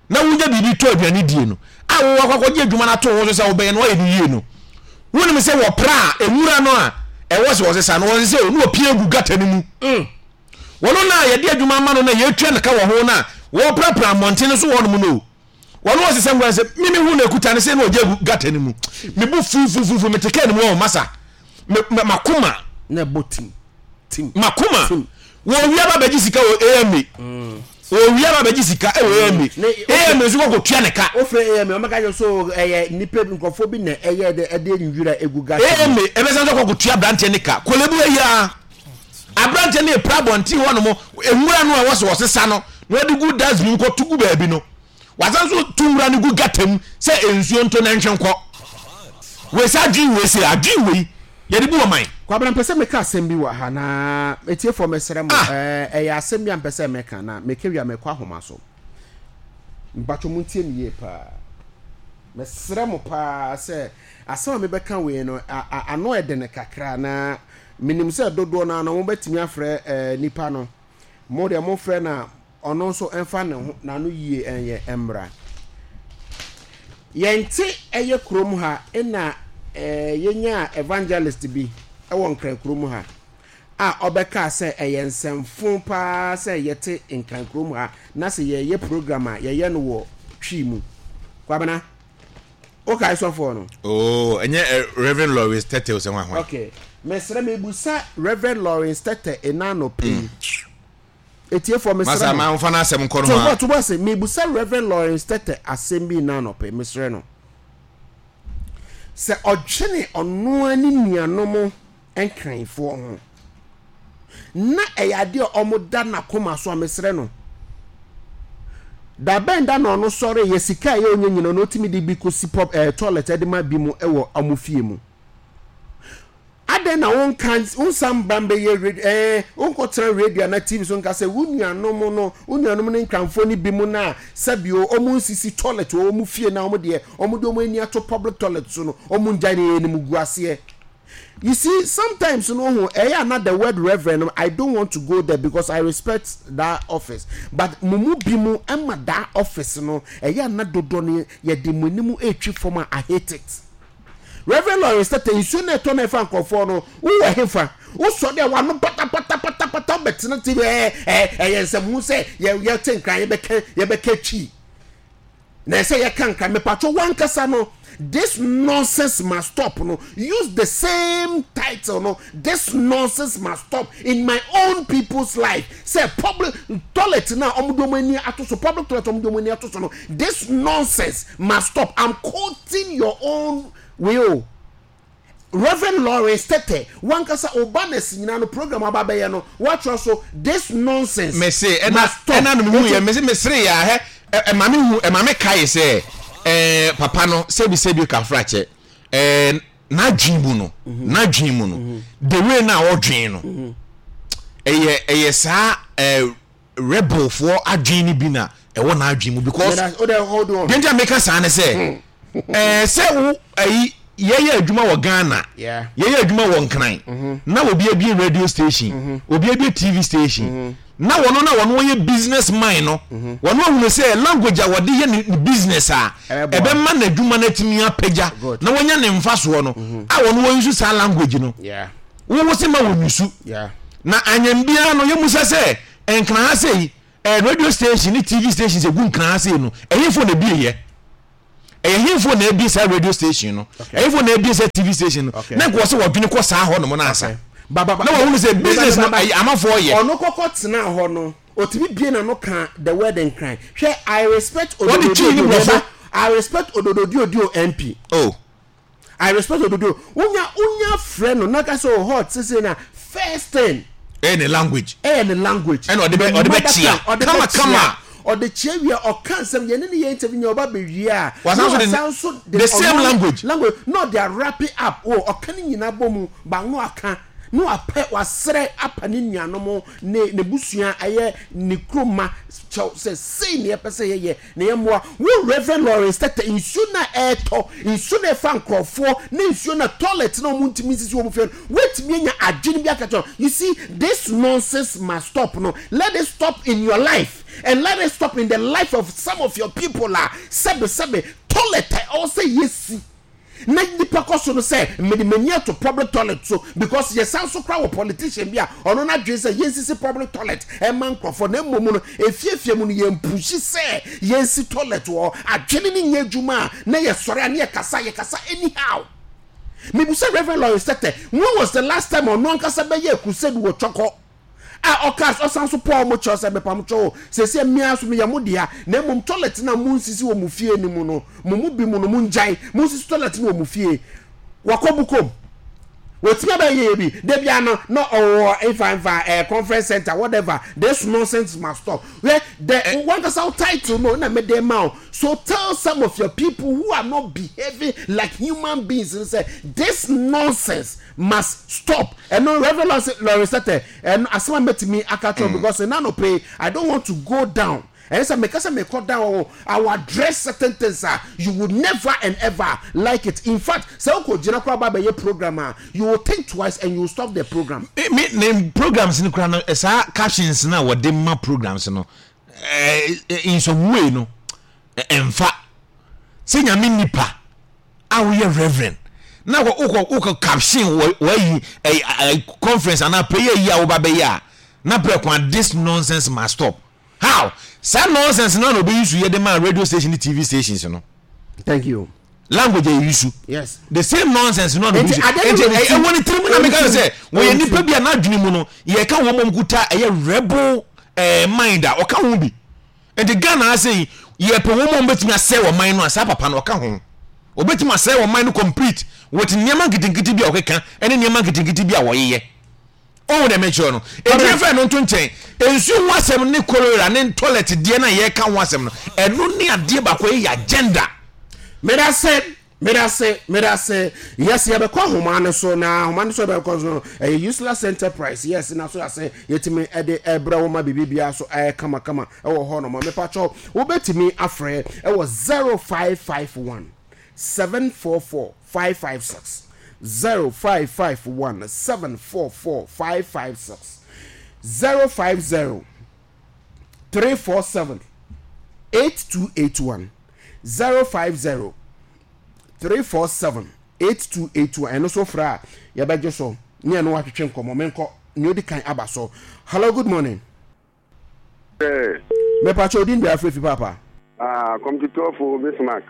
na wonya biribi tɔ aduane die no, a wowɔ akɔ akɔgye adwuma no ato ho so sɛ wobɛyɛ no, woayɛ no yie no, wonim sɛ wɔpra a, nwura no a ɛwɔ sɛ wɔsesa no, wɔsesa o, na wɔpia gu gata no mu mm. Wɔno no a yɛde adwuma ama no na yɛtua no ka wɔ ho no a wɔprapra mmɔnten no so wɔ nom no o, wɔno wɔsesa nwura sɛ mimi hu no akuta no sɛ na ɔgye agu gata no mu. Mebu fufufufu, mete kaa no mu wɔ masa makoma na ɛbɔ tim tim. Makoma wɔwia ba bɛgye sika wɔ A M A mm. Wɔwia ba bɛgye sika wɔ A M A. A M A nso kɔkɔ tua ne ka. Wofrɛ A M A, ɔmɛka kyerɛ so ɛyɛ nipa bi, nkurɔfoɔ bi na ɛyɛ de ɛde nwura egu gata. A M A ɛbɛsan so kɔkɔ tua aberanteɛ ne ka. Korle Bu ayi a aberanteɛ ne epra abɔnten hɔ nom, nwura no a wɔsɛ wɔsesa no na wɔde gu dustbin kɔ to gu baabi no, wasan so tu nwura no gu gata mu sɛ nsuo nto na nhwɛ nkɔ. Wei sɛ adwene wei, sɛ adwene wei yɛde bu ɔman. Kwabena, mpɛ sɛ meka asɛm bi wɔ ha na etiefoɔ, mesrɛ mo. Ɛyɛ asɛm bi a mpɛ sɛ meka na meka wie a mekɔ ahoma so. Mpatwo mo ntie me yie paa. Mesrɛ mo paa sɛ asɛm a mebɛka wei no ano ɛdene kakra, na menim sɛ dodoɔ no ano mobɛtumi afrɛ nipa no. Mo deɛ mofrɛ na ɔno nso mfa ne ho n'ano yie ɛnyɛ mmra. Yɛnte ɛyɛ kurom ha ɛna ɛɛ yɛnya evangelist bi ɛwɔ Nkran kurom ha a ɔbɛka sɛ ɛyɛ nsɛmfo paa sɛ yɛte Nkran kurom ha na sɛ yɛyɛ program a yɛyɛ no wɔ Twi mu. Kwabena, wokae sɔfoɔ no? Oh, ɛnyɛ uh, Reverend Lawrence Tete sɛ hwan hwan? Okay, mesrɛ, mebusa Reverend Lawrence Tete ɛna no pii mm. Etiefoɔ, mesrɛ mo. Masa ma nfa n'asɛm nkɔ no ho a. To bo ase, mebusa Reverend Lawrence Tete asɛm bi na anɔpɛ. Mesrɛ no sɛ ɔdwene ɔnoa ne nuanom Nkranfoɔ ho na ɛyɛ adeɛ a ɔmo da n'akoma so a, mesrɛ no, da bɛn da na ɔno sɔre yɛ sika a ɛyɛ onye nyina na ɔtumi de bi kɔsi pɔ ɛɛ toilet ɛde ma bi mu ɛwɔ ɔmo fie mu? Adɛn na wonka wonsan ba mbɛyɛ radio, ɛɛ wonkɔtena radio ana T V so nka sɛ wo nuanom no, wo nuanom ne Nkranfoɔ no bi mu no a sɛbio ɔmo nsisi toilet wɔ ɔmo fie na ɔmo deɛ ɔmo de ɔmo ani ato public toilet so no, ɔmo ngyae ne yɛn gu aseɛ? You see, sometimes no ho ɛyɛ ana the word reverend no, I don't want to go there because I respect that office, but mo mu bi mu ɛma that office no ɛyɛ ana dodoɔ no yɛde mo anim etwi fam a, I hate it. Reverend Lawrence Tete, nsuo na ɛtɔ na ɛfa nkurɔfoɔ no, wowɔ hefa? Wosɔ deɛ wano patapatapatapata wobɛtena T V, ɛɛ ɛɛ ɛyɛ nsɛm ho sɛ yɛ yɛte Nkran, yɛbɛka yɛbɛka Twi na ɛsɛ yɛka Nkran. Mepatwo, wankasa no, "This nonsense must stop" no, use the same title no, "This nonsense must stop in my own people's life," sɛ public toilet na ɔmo de ɔmo ani ato so, public toilet ɔmo de ɔmo ani ato so no, this nonsense must stop. I'm quoting your own way o. Reverend Lawrence Tete, wankasa obanes nyinaa no, program aba bɛyɛ no, watwerɛ so "This nonsense mese ɛna must stop." Ɛna no mehu yɛ, mese mesere yɛ ahɛ ɛma me hu, ɛma me kae sɛ ɛɛ papa no, sɛbi sɛbi kafra kyɛ, ɛɛ n'adwene mu no n'adwene mu no the way na ɔdwen no, ɛyɛ ɛyɛ saa ɛɛ rebelfoɔ adwene no bi na ɛwɔ n'adwene mu, because deɛ nti a meka saa ne sɛ ɛɛ sɛ wo ɛyi yɛyɛ adwuma wɔ Ghana, yɛyɛ adwuma wɔ Nkran na obi abie radio station, obi abie T V station, na wɔn na wɔn wɔyɛ business man no, wɔn ahunu sɛ language a wɔde yɛ ne business a ɛbɛma n'adwuma no atumi apagya na wɔnya ne mfasoɔ no a, wɔn wɔn nso saa language no wɔwɔ sɛ ma wɔn nusu na anyam biara no. Yɛmusa sɛ Nkran ha sɛ yi, ɛɛ radio station ne T V station sɛ gu Nkran ha sɛ yi no, ɛyɛ fo na ebie yɛ. Ɛyɛ hemfo na ebie saa radio station no, ɛhemfo na ebie saa T V station no? Okay. Na nka wɔ sɛ wɔdwene kɔ saa hɔ nom no ansa Okay. Ba ba ba. Na wɔhunu sɛ business no Ba, ba, ba. ɛyɛ amanfoɔ yɛ. Ɔno kɔkɔ tena hɔ no, otumi bie n'ano ka the word Nkran. Hwɛ, I respect Wɔde Twi ne Odododiodio. Borɔfo. I respect Odododiodio M P. Oh. I respect Ododo. Wonya wonya frɛ no na ka sɛ o hot sese na first thing ɛyɛ ne language. Ɛyɛ ne language. Ɛna ɔde bɛ- Ne ɔde bɛ mother kyia. tongue, ɔde Kama, bɛ kyia. Kama. Ɔde kyia wie, ɔka nsɛm yɛne ne yɛ interview nyɛ ɔba bɛwie a, Wasan so na de- wasan so the same ɔno- language. Language na ɔde awrap it up o. Ɔka ne nyinaa bɔ mu ba no, aka na wapɛ wasrɛ apa ne nuanom ne ne busua, ɛyɛ ne kuroma kyɛw sɛ sei ne yɛpɛ sɛ yɛyɛ na yɛmmoa wo. Reverend Lawrence Tete, nsuo na ɛɛtɔ, nsuo na ɛfa nkurɔfoɔ ne nsuo na toilet na ɔmo ntumi nsisi wɔn fie no, wetumi anya adwene bi aka kyerɛ. You see, this nonsense must stop. No, let it stop in your life and let it stop in the life of some of your people. A sɛbe sɛbe, toilet a ɛwɔ sɛ yɛsi na nipa kɔ so no sɛ mede m'ani ato public toilet so, because yɛsan so kora wɔ politician bi a ɔno n'adwene sɛ yɛnsisi public toilet ɛma nkurɔfoɔ, na mmom no efiefie mu no yɛmpushi sɛ yɛnsi toilet wɔ. Adwene ne nyɛ adwuma a na yɛsɔre a ne yɛkasa yɛkasa anyhow. Mibusa Reverend Lawrence Tete, when was the last time ɔno ankasa bɛyɛ crusade wɔ Twɔkɔ a ɔka ɔsan so pɔn mo kyɛw sɛ mepam kyɛw sɛsɛ mmea so meyɛ mo dea, na mmom toilet na mo nsisi wɔ mo fie no mu no, mo mu bi mu no, mo ngyae mo nsisi toilet no wɔ mo fie? Wakɔ Bukom, wɔtumi abɛyɛ yɛ bi debi ano na ɔwɔ nfa nfa ɛɛ conference center, whatever. This nonsense must stop. Wɛ the wankasa wo title no na mɛ de ma o, so tell some of your people who are not behaving like human beings and say this nonsense must stop. Ɛno, Reverend Lawrence Tete, ɛno asɛm a mɛtumi aka kyerɛ, because ɛna no pay, I don't want to go down. Ɛyɛ sɛ meka sɛ mekɔ down o, I will address certain things a you would never and ever like it. In fact, sɛ wokɔ gyina koraa ba bɛyɛ program a, you will think twice and you will stop the program. Me me ne programs no kora no, eh, saa captions no a wɔde ma programs no, eh, eh, in some way no, eh, ɛmfa sɛ Nyame nipa a woyɛ reverend na wokɔ wokɔ wokɔ caption wɔ wɔayi eh, eh, conference anaa prayer yi a woba bɛyɛ a na prɛ kwan, "This nonsense must stop." How saa nonsense no na obeyi so yɛ de ma radio station ne T V stations no? Thank you. Language a yɛyi so, yes the same nonsense no na obi Nti so ade no nti wɔ ne ɛ- tirim. ɛwɔ ne tirim na Ɛwɔ ne meka tirim. sɛ Ɛwɔ wɔyɛ ne nipa tirim. bi a n'adwene mu no yɛka wɔn mom kuta ɛyɛ rebel ɛɛ mind a ɔka ho bi. Nti Ghana ase yi, yɛpɛ wɔn mom bɛtumi asɛe wɔn man no a, saa papa no ɔka ho, obɛtumi asɛe wɔn man no complete with nneɛma nketenkete bi a ɔkeka ɛne nneɛma nketenkete bi a wɔyeyɛ. Ɔhu dɛ mekyerɛ no, enti yɛmfa ɛno nto nkyɛn. Nsuo ho asɛm ne cholera ne toilet deɛ no a yɛka ho asɛm no, ɛno ne adeɛ baako a ɛyɛ agenda. Medase, medase, medase. Yes, yɛbɛkɔ ahoma no so, na ahoma no so yɛbɛkɔ so no ɛyɛ Useless Enterprise. Yes, na so yɛasɛ yɛtumi ɛde ɛbrɛ wo ma biribi biara so ɛyɛ kamakama ɛwɔ hɔ nom. Mepakyɛw, wobɛtumi afrɛ ɛwɔ zero five five one seven four four five five six, zero five five one seven four four five five six, zero five zero three four seven eight two eight one, zero five zero three four seven eight two eight one. Ɛno so frɛ a yɛbɛgye so ne ɛno watwetwe nkɔmmɔ. Menkɔ nea odi kan aba so. Hello, good morning. Mepatwɛ, odin bia afrɛ fi papa? Ah, kɔmtutɔfo Bismarck.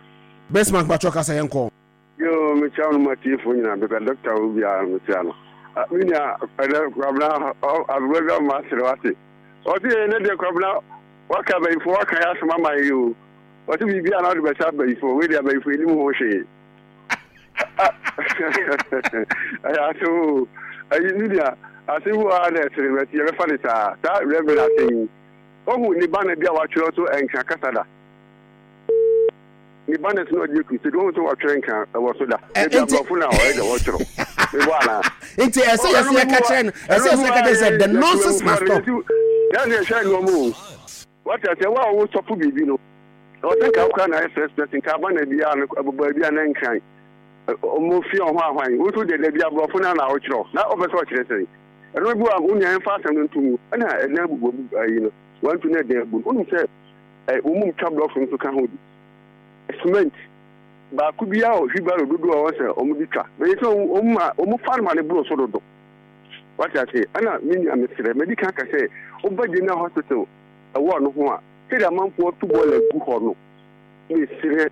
Bismarck, patwɛ, kasa, yɛnkɔ. Yo, mekyia no matiefo nyinaa bɛka dɔkta wo biara mekyia no. Ah, me nua, ɛnɛ Kwabena aberɛ bi ama asere wate. Ɔse ɛnɛ deɛ Kwabena waka abayifo, waka yɛ asɛm ama yi o. Ɔse biribi a na wode bɛhyɛ abayifo, wei deɛ abayifo anim ho hwee. Ɛyɛ asɛm o. Ayi, me nua, asɛm bi wɔ ha na ɛsere bɛte yɛbɛfa ne saa. Saa Reverend asɛm yi. Ohu ne banner bi a watwerɛ so Nkra kasa da. Ne banners na ɔde crusade, wɔn nso wɔtwerɛ Nkra ɛwɔ so da. Ebi nti- aborɔfo na ɔyɛ dɛ wɔtwerɛ mebɔ anaa? Nti ɛsɛ yɛsɛ yɛka kyerɛ no, ɛsɛ yɛsɛ yɛka kyerɛ sɛ the nonsense must stop. Yɛn yɛhwɛ nneɛma o, wɔte sɛ wo a wosɔfo biribi no, ɛwɔ sɛ nka wokora na ayɛ first person nka aba na biara no ɛbɔ baabi a na Nkran ɔmo fi ɔho ahwan wo nso deɛ dabi aborɔfo no na wokyerɛw na ɔpɛ sɛ ɔkyerɛ sɛn. Ɛno bi wa wo nua yɛmfa asɛm no nto mu ɛna ɛdan abubu abu ayi no wantu na ɛdan abu no. Wonim sɛ ɛ wɔn mu twa blocks nso ka ho bi, cement baako biara wɔ wheelbarrow dodoɔ a wɔn sɛ wɔn de twa bɛyɛ sɛ wɔn ma wɔn fa no ma ne boro so dodo, wate ase. Ɛna me nua, mesrɛ, mɛdi kan ka sɛ woba general hospital ɛwɔ no ho a, sɛdeɛ amanfoɔ to bɔɔla gu hɔ no, mesrɛ.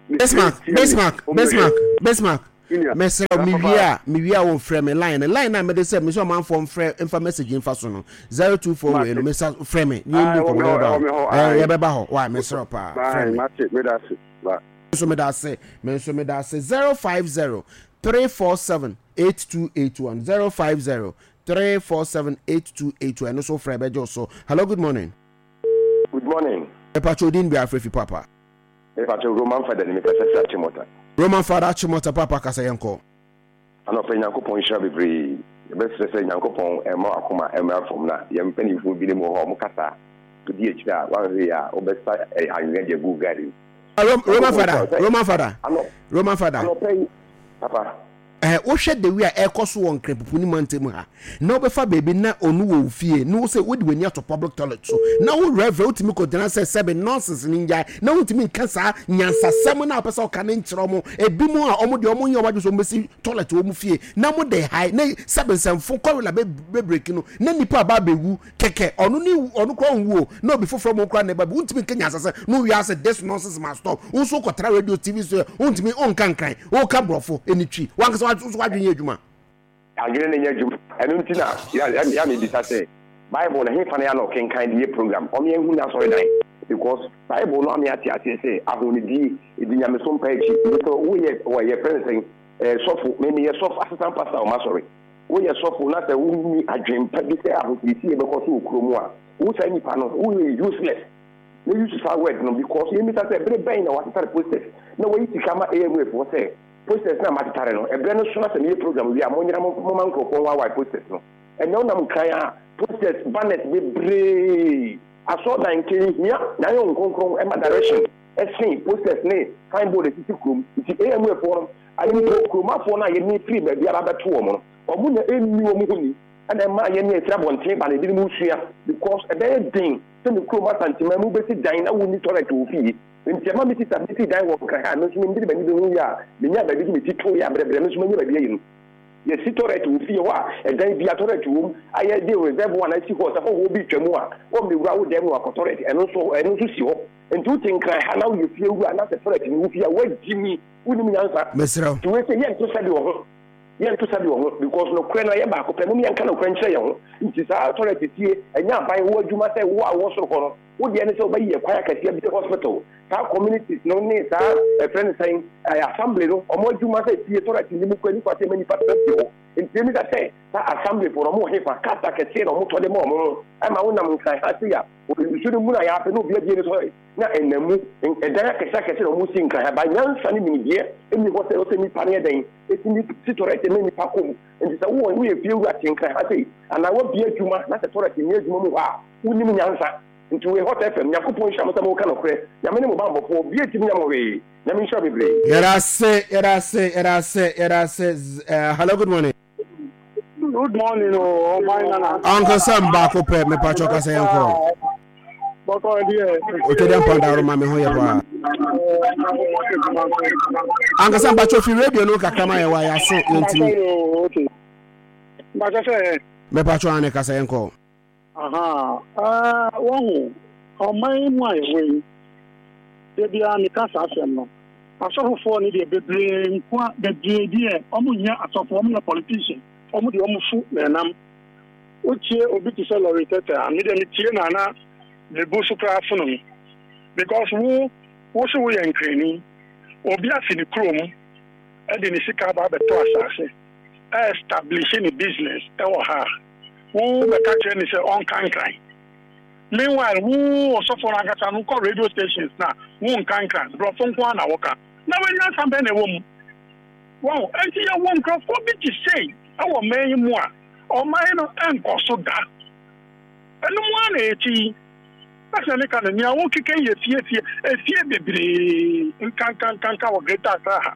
Bismarck, Bismarck, Bismarck, Bismarck. Mesrɛ mewie a mewie a wɔmfrɛ me line no, line a mede sɛ mesɛ ɔmanfoɔ mfrɛ mfa message mfa so no, zero two four wei no, mesa frɛ me ne yɛndi nkɔmmɔ, yɛbɛba hɔ, yɛbɛba hɔ wa. Mesrɛ paa, frɛ me. Nso meda ase, me nso meda ase. zero five zero three four seven eight two eight one, zero five zero three four seven eight two eight one, ɛno so frɛ bɛgye so. Hello, good morning. Good morning. Mepatwa odin bi afrɛ fi papa. Mepatwa Roman Father ni, mekasa fi Achimota. Roman Father, Achimota, papa, kasa, yɛnkɔ. Anɔpɛ, Nyankopɔn nhyira bebree. Yɛbɛsrɛ sɛ Nyankopɔn ɛma akoma mmra fam, na yɛn mpanimfoɔ binom wɔ hɔ a ɔmo kasa wodi akyire a wanhwɛ yi a wobɛsa anwea de agu garden. Roman Father, Roman Father, Roman Father. Anɔpɛ yi, papa. Ɛɛ, wohwɛ the way a ɛkɔ so wɔ Nkranpupu ne mantam ha, na wobɛfa baabi na ɔno wɔ wo fie na wo sɛ wode w'ani ato public toilet so, na wo reverend wotumi kɔgyina sɛ sɛbe nonsense no ngyae, na wontumi nka saa nyansasɛm no a wopɛ sɛ ɔka no nkyerɛ ɔmo. Ebi mu a ɔmo deɛ, ɔmo nyɛ ɔmo adwene sɛ ɔmo bɛsi toilet wɔ ɔmo fie, na mo de hae na sɛbe nsɛmfo kɔrela bɛbreki no na nipa aba abɛwu kɛkɛ. Ɔno ne ɔno koraa ɔnwu o, na obi foforɔ mo koraa na ɛba bi. Wontumi nka nyansasɛm na wowie ase, this nonsense must stop. Wo nso wokɔtra radio, T V so yɛ wontumi wonka Nkran, woka Borɔfo ɛni Twi, wankasa nso wadwene yɛ adwuma. Adwene no nyɛ adwuma. Ɛno nti na ya mebisa sɛ Bible no hefa no yɛ na ɔkenkan de yɛ program ɔme ahu no asɔredan, because Bible no ame ate aseɛ sɛ ahonidie ɛdi nyameso mpa akyi. Nti sɛ woyɛ wɔyɛ frɛ no sɛn, sɔfo, me meyɛ sɔfo, assistant pastor wɔ m'asɔre, woyɛ sɔfo na sɛ wonni adwempa bi sɛ ahosiesie bɛkɔ so wɔ kurom a, wo saa nipa no woyɛ useless na use saa word no, because yɛmmisa sɛ bere bɛn na watetare posters na wayi sika ma A M A foɔ sɛ posters na matetare no, ɛberɛ no so na sɛ meyɛ program wie a, monyera moma nkurɔfoɔ nwaawae posters no. Ɛnɛ wonam Nkran a, posters, banners bebree. Asɔɔdan nkɛnhia na ayɛ nkronkron ɛma direction ɛsen posters ne signboard esisi kurom. Nti A M A foɔ no ayi mpo kuromafoɔ no a yɛne firi baabi aba bɛto wɔn no, wɔn na ɛnni wɔn ho ni, ɛna ɛma yɛne efiri abɔnten ba na ebinom sua, because ɛbɛyɛ den sɛ ne kurom Asanteman mu bɛsi dan na wonni toilet wɔ fie. Nti ɛma mi sisa bɛsi dan wɔ Nkran ha, me nso mi mbiri m'ani bi ho yie a menya baabi de me ti to yɛ abrɛbrɛ, me nso manya baabi ayi no. Yɛsi toilet wɔ fie hɔ a, ɛdan bi a toilet wɔ mu a yɛde reserve one asi hɔ sɛ hɔhoɔ bi twa mu a wɔmmɛwura wo dan mu akɔ toilet. Ɛno nso ɛno nso si hɔ. Nti wote Nkran ha na woyɛ fie wura na sɛ toilet ni wo fie a, woagyi mi, wonim nyansa. Mesrɛ. Nti wei sɛ yɛnto sɛbi wɔ ho, yɛnto sɛbi wɔ ho, because nokorɛ no ɛyɛ baako pɛ. Mom yɛnka nokorɛ nkyerɛ yɛn ho. Nti saa toilet sie ɛnyɛ aban wo adwuma sɛ wo a wɔ soro hɔ no, wo deɛ ne sɛ wobɛyi ɛkwan akɛseɛ bi, hospital, saa communities no ne saa ɛfrɛ no sɛn, assembly no, ɔmo adwuma sɛ fie toilet ni mu kɔ nipa sɛ ɛma nipa tena fie hɔ. Nti emi ka sɛ saa assembly fo no, ɔmo wɔ hefa? Cars akɛseɛ na ɔmo tɔ de ma ɔmo ho ɛma wonam Nkran ha se a, nsuo no mu na yɛapɛ na obi abie ne toilet na ɛnam mu. Ɛdan akɛseɛ akɛseɛ na ɔmo si Nkran ha ba, nyansa ne nimdeɛ ɛni hɔ sɛ ɔsɛ nipa no yɛ dɛn ɛtumi si toilet ɛma nipa kɔ mu. Nti sɛ wowɔ woyɛ fie wura te Nkran ha sei anaa wabie adwuma na sɛ toilet nni adwuma mu hɔ a, wonim nyansa. Nti wei Hot F M, Nyankopɔn nhyira mo sɛ moka nokorɛ. Nyame ne mo bambɔfoɔ, obi ntimi nya mo hwee. Nyame nhyira bebree. Yɛda ase, yɛda ase, yɛda ase, yɛda ase. uh, hello, good morning. Good morning o, ɔman nana. Uncle Sam baako pɛ, mepatwɔ kasa, yɛn kɔ. Bɔkɔ deɛ. Otwadi mpandaro ma me ho yɛ paa. Uncle Sam, patwɔ fi radio no kakra ma yɛ wa yɛaso yɛntimi. Mbakyɛ sɛ. Mepatwɔ ane, kasa, yɛn kɔ. Aha, wɔhu ɔman mu a yɛwɔ yi, da biara meka saa asɛm no. Asɔfofoɔ no deɛ bebree nko a bebree deɛ ɔmo nyɛ asɔfo, ɔmo yɛ politician, ɔmo deɛ ɔmo fu na ɛnam. Wotie obi te sɛ lɔri tɛtɛ a, me deɛ metie na na me bu so koraa fono me, because wo wo so woyɛ Nkrani, obi afi ne kurom ɛde ne sika aba abɛtɔ asase ɛ establish ne business ɛwɔ ha, wo bɛka kyerɛ ne sɛ ɔnka Nkran. Meanwhile, wo ɔsɔfo no ankasa no kɔ radio stations na wo nka Nkran, borɔfo nko ara na wɔka, na wɔanya nsa bɛn na ɛwɔ mu wɔn? Nti yɛwɔ nkurɔfoɔ bi te sei ɛwɔ man yi mu a, ɔman no nkɔ so da. Ɛno mu ara na yɛkyi yi ɛsɛ meka no nea wokeka yɛ fiefie efie bebree nkankankanka wɔ Greater Accra ha.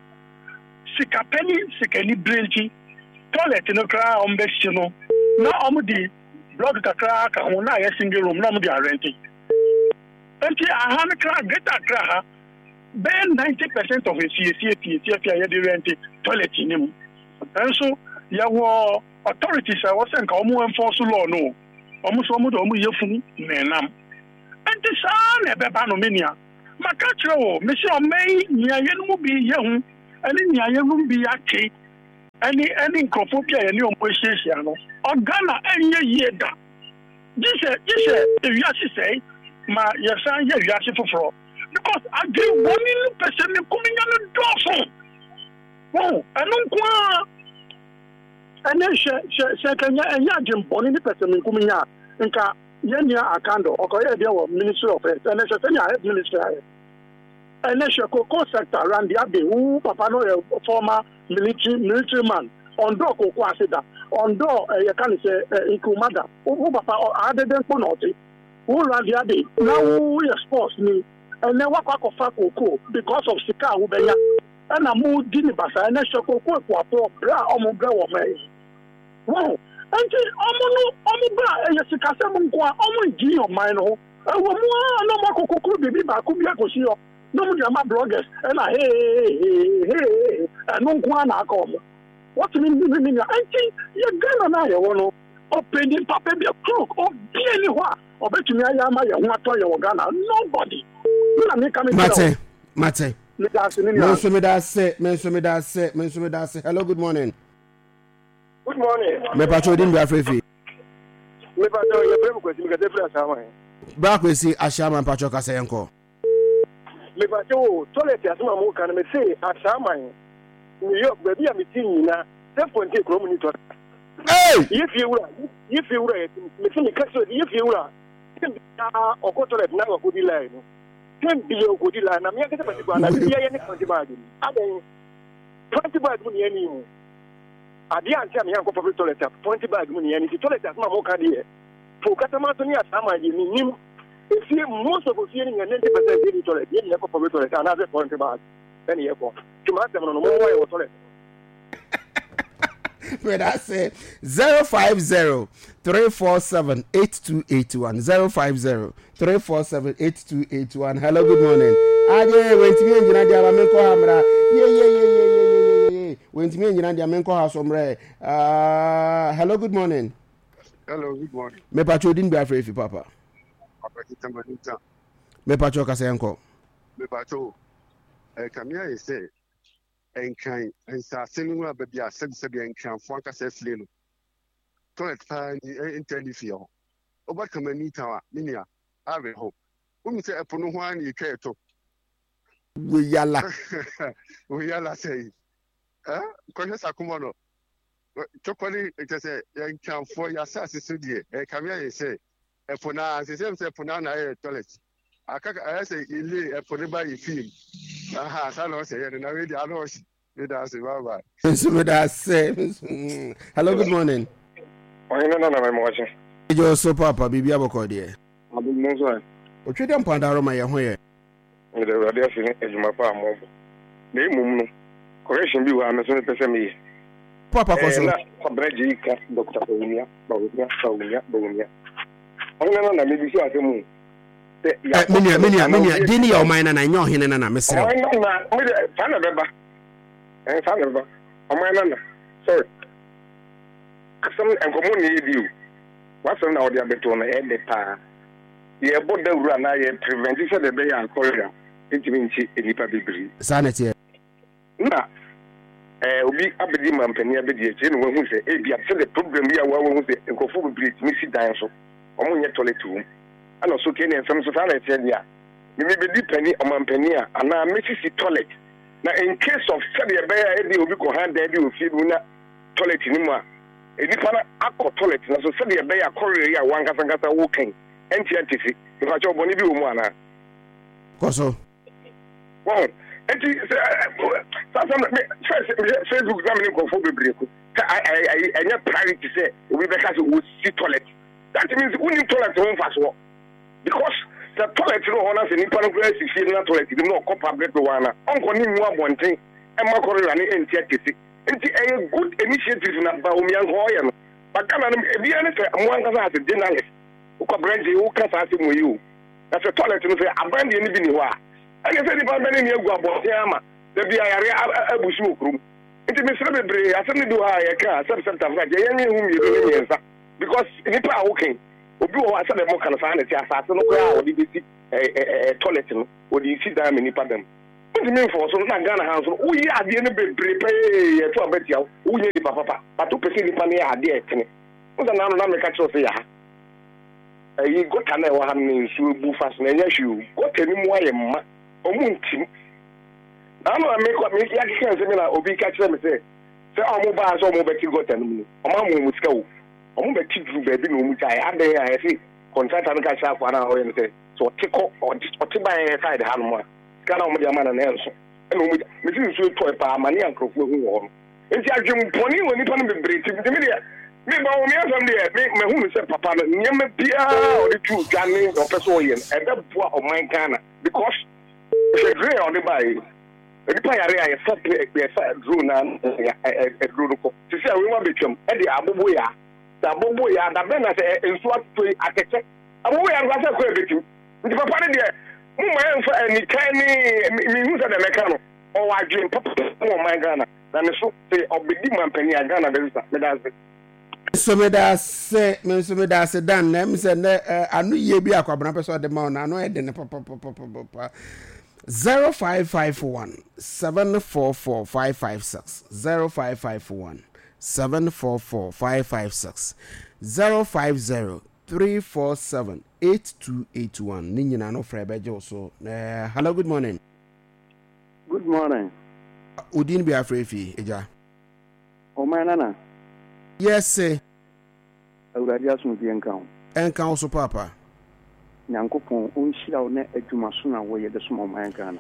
Sikapɛ ne sikani bere nti, toilet no koraa a wɔbɛsi no na wɔde block kakra aka ho na ayɛ single room na wɔde arent. Nti aha no koraa, Greater Accra ha, bɛyɛ ninety percent of efie fie fie fie fie a yɛde rent, toilet ni mu. Nso yɛwɔ authorities a wɔsɛ nka wɔn enforce law no, wɔn nso wɔn de wɔn yɛ funu na ɛnam. Nti saa na ɛbɛba no, me nua. Maka kyerɛ wo, mese ɔman yi nea yɛn mu bi yɛ ho ɛne nea yɛn mu bi ate ɛne ɛne nkurɔfoɔ bi a yɛne wɔn ahyiahyia no, ɔGhana ɛnyɛ yie da. Gye sɛ gye sɛ ewiase sɛe ma yɛsan yɛ wiase foforɔ, because adwene bɔne no pɛ sɛ menkominya no dɔɔso. Wɔn ɛno nko ara ɛnɛ hwɛ hwɛ sɛ nka ɛnyɛ ɛnyɛ adwene bɔne ne pɛ sɛ menkominya a, nka yɛn nua Akando ɔkɔyɛ deɛ wɔ Ministry of Health. Ɛnɛ hwɛ sɛnea Health Ministry ayɛ. Ɛnɛ hwɛ cocoa sector, Randy Abbey, wo papa no yɛ former military military man, ɔndɔɔ cocoa ase da, ɔndɔɔ ɛyɛ ka ne sɛ ɛ nkuruma da. Wo wo papa adede mpo na ɔte wo Randy Abbey na wo yɛ sports ni. Ɛnɛ wakɔ akɔfa cocoa because of sika a wobɛnya ɛna mo di ne basa. Ɛnɛ hwɛ cocoa ekuafoɔ brɛ a ɔmo brɛ wɔ mɛ yi wɔn nti ɔmo no ɔmo ba a ɛyɛ sikasɛm nko a ɔmo ngyi ɔman no ho ɛwɔ mu a na ɔmo akɔkɔkoro biribi baako bi akɔsi hɔ na ɔmo de ama bloggers ɛna heeheehehe, ɛno nko a na aka ɔmo wɔtumi ne ne nua. Nti yɛ Ghana no a yɛwɔ no, ɔpanin papa bi crook obie ni hɔ a ɔbɛtumi ayɛ ama yɛn ho atɔ yɛ wɔ Ghana, nobody. Na meka me kyerɛ Mate, mate. Meda ase ne Me nua. Nso meda ase, me nso meda ase, me nso meda ase. Hello, good morning. Good morning. Mepatwa odin bi afrɛfi. Mepatwa yɛfrɛ me Kwasi, mekasa firi Asaman. Bra Kwesi Ahyɛama, mpatwa kasa, yɛnkɔ. Mepatwa o, toilet asɛm a moka no, mese Asaman, New York, baabi a mete nyina, self contain kurom ni toilet. Hey! Yɛ fie wura, yɛ fie wura yɛ mese meka sɛ yɛ fie wura tem biara ɔkɔ toilet na wakɔdi line no, tem biara ɔkɔdi line na meankasa mate kɔ anadwo biara yɛ ne plenty bag mu adɛn, plenty bag mu ne yɛne mu adeɛ ante a meyankɔ public toilet a plenty bag mu ne yɛne. Nti toilet asɛm a moka deɛ po katama so ne Asaman deɛ menim efie, most of ofie no nyɛ ninety percent yɛ ni toilet, yɛ nyɛ kɔ public toilet anaasɛ plenty bag ɛne yɛkɔ. Nti maa asɛm no no mommoa yɛ wɔ toilet. Meda ase. Zero five zero three four seven eight two eight one, zero five zero three four seven eight two eight one. Hello, good morning. Agye wɛntumi ngyina deɛ ama menkɔ ha mmra. Yeyeyeyeyeyeye, wɛntumi ngyina deɛ menkɔ ha so mmerɛ. Uh, hello, good morning. Hello, good morning. Mepatwa odin bi afrɛ fi papa. Papa Kita Maninta. Mepatwa kasa, yɛnkɔ. Mepacho, ɛkame ayɛ sɛ Nkran nsase no a baabi a sɛbisɛbi Nkranfoɔ ankasa afie no, toilet paa ni nta ni fie hɔ. Woba Kamani Town a, me nua, awerɛho. Wohu sɛ ɛpo no ho ara na yɛtwa ɛto. Weyala. Weyala sɛ yi. Kɔhwɛ Sakomɔ no. Twɔkɔ ne kyɛ sɛ Nkranfoɔ yɛ asase so deɛ, ɛkame ayɛ sɛ ɛpo no ara, sɛ sɛ ɛpo no ara na ayɛ toilet. Aka ayɛ sɛ yɛlie ɛpo no ba yɛ fie mu. Aha, saa na ɔsɛ yɛ no na wei deɛ ano ɔhye. Meda ase, bye bye. Nso meda ase. Hello, good morning. Ɔhene nana, mɛmɔkye. Ɛgye so papa, biribi abɔkɔ deɛ. Adom no nso ɛ. Otwe dɛ mpandaro ma yɛ ho yɛ. Mede Awurade ase ne adwuma pa a mobɔ. Na mmom no, correction bi wɔ ha me nso mepɛ sɛ meyɛ. Papa, kɔ so. Na Kwabena Gyei ka Doctor Bawumia, Bawumia, Bawumia, Bawumia. Ɔhene nana, mebisa asɛm o. Sɛ Eh, me nua, me nua, me nua, din ne yɛ ɔman nana, ɛnyɛ ɔhene nana, mesrɛ wo. Ɔman nana, mede saa na ɛbɛba. Ɛn saa na ɛbɛba. Ɔman nana, sorry. Asɛm nkɔmmɔ na yɛdi o. W'asɛm na wɔde abɛto no ɛyɛ dɛ paa. Yɛbɔ dawuro anaa yɛ prevent sɛdeɛ ɛbɛyɛ a cholera ntumi nkye nnipa bebree. Saa na ɛteɛ. Na ɛɛ obi abɛdi mampanin abɛdi akyire na wahu sɛ ebi a sɛdeɛ problem bi a wahu sɛ nkurɔfoɔ bebree tumi si dan so, wɔn nyɛ toilet wɔ mu, ɛna so kee ne nsɛm so saa na ɛteɛ deɛ a mimi bɛdi panin ɔmampanin a anaa mesisi toilet na in case of sɛdeɛ ɛbɛyɛ a ebi obi kɔ han dan bi wɔ fie bi mu na toilet no mu a nipa no akɔ toilet na so sɛdeɛ ɛbɛyɛ a kɔrɛ yi a wankasa nkasa wɔkɛn ɛnti antisi nipa kyɛw bɔne bi wɔ mu anaa. Kɔ so. Wɔn nti sɛ saa sɛm me first mehwɛ Facebook na me ne nkurɔfoɔ bebree ko sɛ ɛnyɛ priority sɛ obi bɛka sɛ wɔsi toilet. That means wonim toilet ho mfasoɔ, because sɛ toilet no wɔ hɔ na sɛ nipa no koraa si fie no na toilet no mu na ɔkɔ public one a, ɔnkɔ ne ngu abɔnten ɛma kɔrela ne ɛnti akɛse. Nti ɛyɛ good initiative na Bawumia nka ɔyɛ no. But Ghana no ebiara ne sɛ mo ankasa as a journalist wokɔ aberante woka saa asɛm wɔ yi o, na sɛ toilet no sɛ aban deɛ no bi ni hɔ a, ɛne sɛ nipa bɛne ne agu abɔnten ama da bi ayare abu so wɔ kurom. Nti mesrɛ bebree, asɛm no bi wɔ ha a yɛka a sɛbsɛb tafra deɛ yɛnyɛ ho mmienu ne mmiɛnsa, because nipa a wokan Obi wɔ hɔ a sɛdeɛ moka no saa na ɛte, asase no koraa a wɔde bɛsi ɛɛ toilet no, wɔde si dan ma nipa dam. Wontumi mfɔ so na Ghana ha nso no, woyɛ adeɛ no bebree pɛɛ yɛto aba tia wo, wonyɛ nipa papa, but wopɛ sɛ nipa no yɛ adeɛ a ɛtene. Wo sɛ naano na meka kyerɛ wo sɛ yɛ ha. Ɛyi gutter na ɛwɔ ha no na nsuo bu fa so na ɛnyɛ hwee o. Gutter no mu ayɛ ma, ɔmo ntim. Naano na mekɔ me yɛakeka nsɛm na obi ka kyerɛ me sɛ sɛ ɔmo baa sɛ ɔmo bɛte gutter no mu no, ɔmo ama ɔmo sika o. Ɔmo bɛte duru baabi na ɔmo gyae. Adɛn a yɛse contractor no ka kyerɛ akoa no a ɔyɛ no sɛ sɛ ɔte kɔ ɔte ba yɛn side ha nom a sika na ɔmo de ama no na ɛnso. Ɛna ɔmo gya mesi nsuo tɔe paa ma ne nkurɔfoɔ ahu wɔ hɔ no. Nti adwempɔne wɔ nipa no bebree ti nti me deɛ me ba wɔ me asɛm deɛ me mahu no sɛ papa no nneɛma biara a ɔde tu dwa ne ɔpɛ sɛ ɔyɛ no ɛbɛboa ɔman Ghana because hwɛ drain a ɔde baa yi, nipa yare a yɛfa yɛfa drone na ɛduro no kɔ sisi a wei mu abɛtwam ɛde abobo ya sɛ abobo ya dabɛn na sɛ nsuo atotɔ yi atɛkyɛ abobo ya no sɛ kɔ ɛbɛtim. Nti papa no deɛ mo ma yɛmfa anikan ne mehu sɛ deɛ mɛka no ɔwɔ adwene papa mu ɔman Ghana na ne so sɛ ɔbɛdi mampanin a Ghana bɛsesa. Meda ase. Nso meda ase, me nso meda ase Dan. Na ɛmu sɛ nɛ ano yie bi akwabena pɛ sɛ ɔde ma wo na ano ɛde ne papapapapa. zero five five one seven four four five five six zero five five one seven four four five five six zero five zero three four seven eight two eight one. Ne nyinaa no frɛ bɛgye wo so. Uh, hello, good morning. Good morning. Odin bi afrɛ fi agya. Ɔman nana. Yes, sir. Awurade asomdwie nka wo. Ɛnka wo so papa. Nyankopɔn ɔnhyira wo na adwuma so na wɔyɛ de som ɔman Ghana.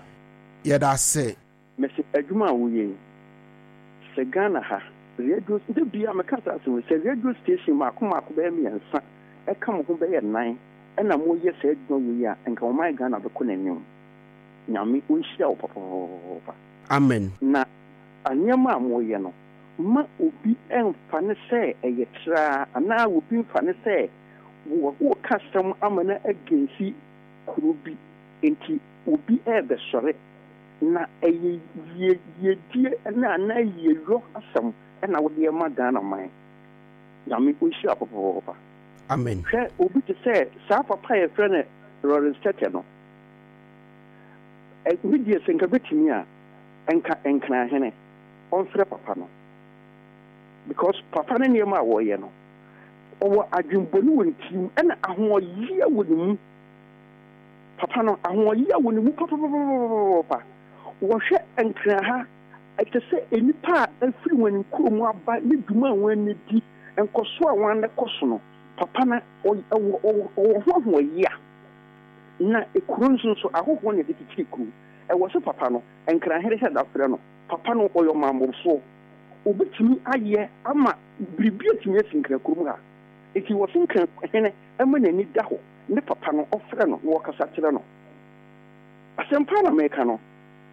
Yɛda ase. Mɛsɛ adwuma a woyɛ yi, sɛ Ghana ha radio de bia meka saa asɛm yi, sɛ radio station maako maako bɛyɛ mmiɛnsa ɛka mo ho bɛyɛ nnan ɛna moyɛ saa adwuma wei a, nka ɔman Ghana bɛkɔ n'anim. Nyame ɔnhyira wo papapapapa. Amen. Na nneɛma a moyɛ no, ma obi ɛmfa ne sɛ ɛyɛ traa anaa obi mfa ne sɛ wɔka asɛm ama no agensi kuro bi nti obi ɛrebɛsɔre na ɛyɛ yie yiedie na anaa yieyɔ asɛm ɛna wode ɛma Ghana man. Nyame ɔnhyira papapapa. Amen. Hwɛ obi te sɛ saa papa a yɛfrɛ no Lawrence Tete no, me deɛ sɛ nka bɛtumi a nka Nkrahene ɔmfrɛ papa no, because papa no nneɛma a wɔyɛ no ɔwɔ adwembɔne wɔ ne tirim ɛna ahoɔyea wɔ ne mu. Papa no ahoɔyea wɔ ne mu papapapapapa. Wɔhwɛ Nkran ha ɛte sɛ nnipa a afiri wɔn kurom aba ne dwuma a wɔn ani di nkɔso a wɔn kɔ so no, papa no ɔwɔ ɔwɔ ho ahoɔyea. Na ekuro nso nso ahohoɔ na yɛde kyekyere kuro. Ɛwɔ sɛ papa no Nkrahene hyɛ da frɛ no. Papa no ɔyɛ ɔmammɔfoɔ, obetumi ayɛ ama biribi atumi asi Nkran kurom ha. Eti wɔ se Nkrahene ɛma n'ani da hɔ ne papa no ɔfrɛ no na wɔkasa kyerɛ no. Asɛm pa na meka no,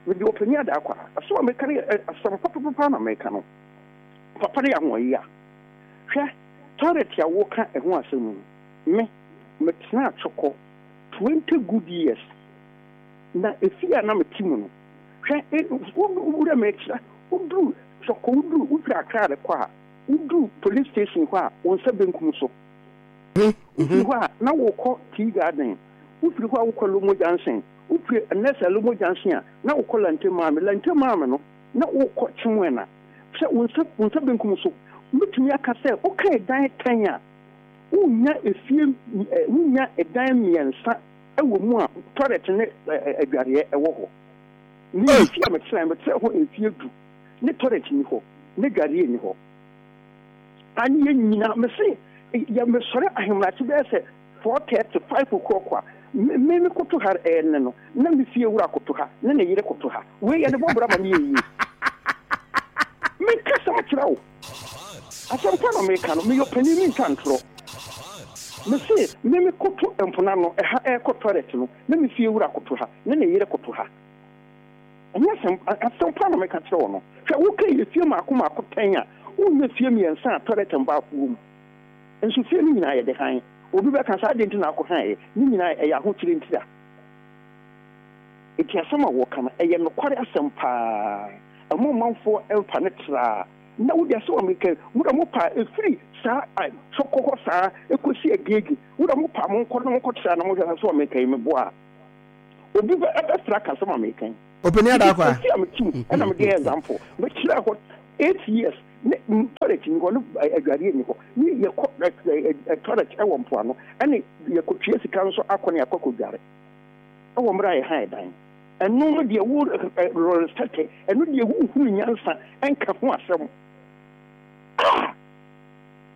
mede ɔpanin ada akɔ a asɛm a meka no yɛ asɛm papapapa na meka no. Papa no yɛ ahoɔyea. Hwɛ toilet a wɔka ɛho asɛm mu, me metena Atwɔkɔ twenty good years na efi a na mete mu no, hwɛ wowura mekyerɛ woduru Twɔkɔ, woduru wofiri Accra rekɔ a woduru police station hɔ a wo nsa benkum so, wofiri hɔ a na wokɔ Tea Garden, wofiri hɔ a wokɔ Lomo Junction, wofiri Nɛsa Lomo Junction a na wokɔ Lante Maame, Lante Maame no na wokɔ Kyemwena. Sɛ wo nsa wo nsa benkum so, mɛtumi aka sɛ woka ɛdan tɛn a wonya efie, wonya ɛdan mmiɛnsa ɛwɔ mu a toilet ne adwareɛ ɛwɔ hɔ. Ne efie a metena metena hɔ mfie du ne toilet ni hɔ ne dwareɛ ni hɔ. Ani yɛ nyina mese yɛ mesɔre ahemakye bɛyɛ sɛ four thirty five o'clock a me me koto ha ɛyɛ ne no na me fie wura koto ha ne ne yere koto ha. Wei yɛ ne bɔ bra ma ne yɛ yie. Meka sɛm kyerɛ wo, asɛm pa na meka no, meyɛ ɔpanin, mentwa ntorɔ. Mese me me koto mpona no ɛha ɛrekɔ toilet no na me fie wura koto ha ne ne yere koto ha. Ɛnyɛ asɛm asɛm pa na meka kyerɛ wo no. Hwɛ woka yɛ fie maako maako tɛn a wonyɛ fie mmiɛnsa a toilet mbaako wɔ mu. Nso fie no nyinaa yɛde han. Obi bɛka saa adeɛ nti na akɔ han yɛ ne nyinaa ɛyɛ ahokyere ntira. Eti asɛm a wɔka no ɛyɛ nokware asɛm paa. Ɛmo ɔmanfoɔ ɛmfa ne traa na wode asɛm a meka mu na mo pa efiri Saa Twɔkɔ hɔ saa ɛkɔsi Agege. Wo na mo pa mo nkɔ na mo nkɔtra na mo hwɛ sɛ ɔmeka yi meboa a. Obi bɛ ɛbɛfra aka asɛm a meka yi. Ɔpanin Adakwa. Nti a mete mu ɛna mede yɛ example. Mekyerɛ hɔ eight years ne toilet ni hɔ ne adwareɛ ni hɔ ne yɛkɔ toilet ɛwɔ mpoano ɛne yɛkɔtua sika nso akɔ ne akɔ akɔdware ɛwɔ mmerɛ a yɛhan dan. Ɛno no deɛ wo rɔresɛte ɛno deɛ wohunu nyansa ɛnka ho asɛm. Ah!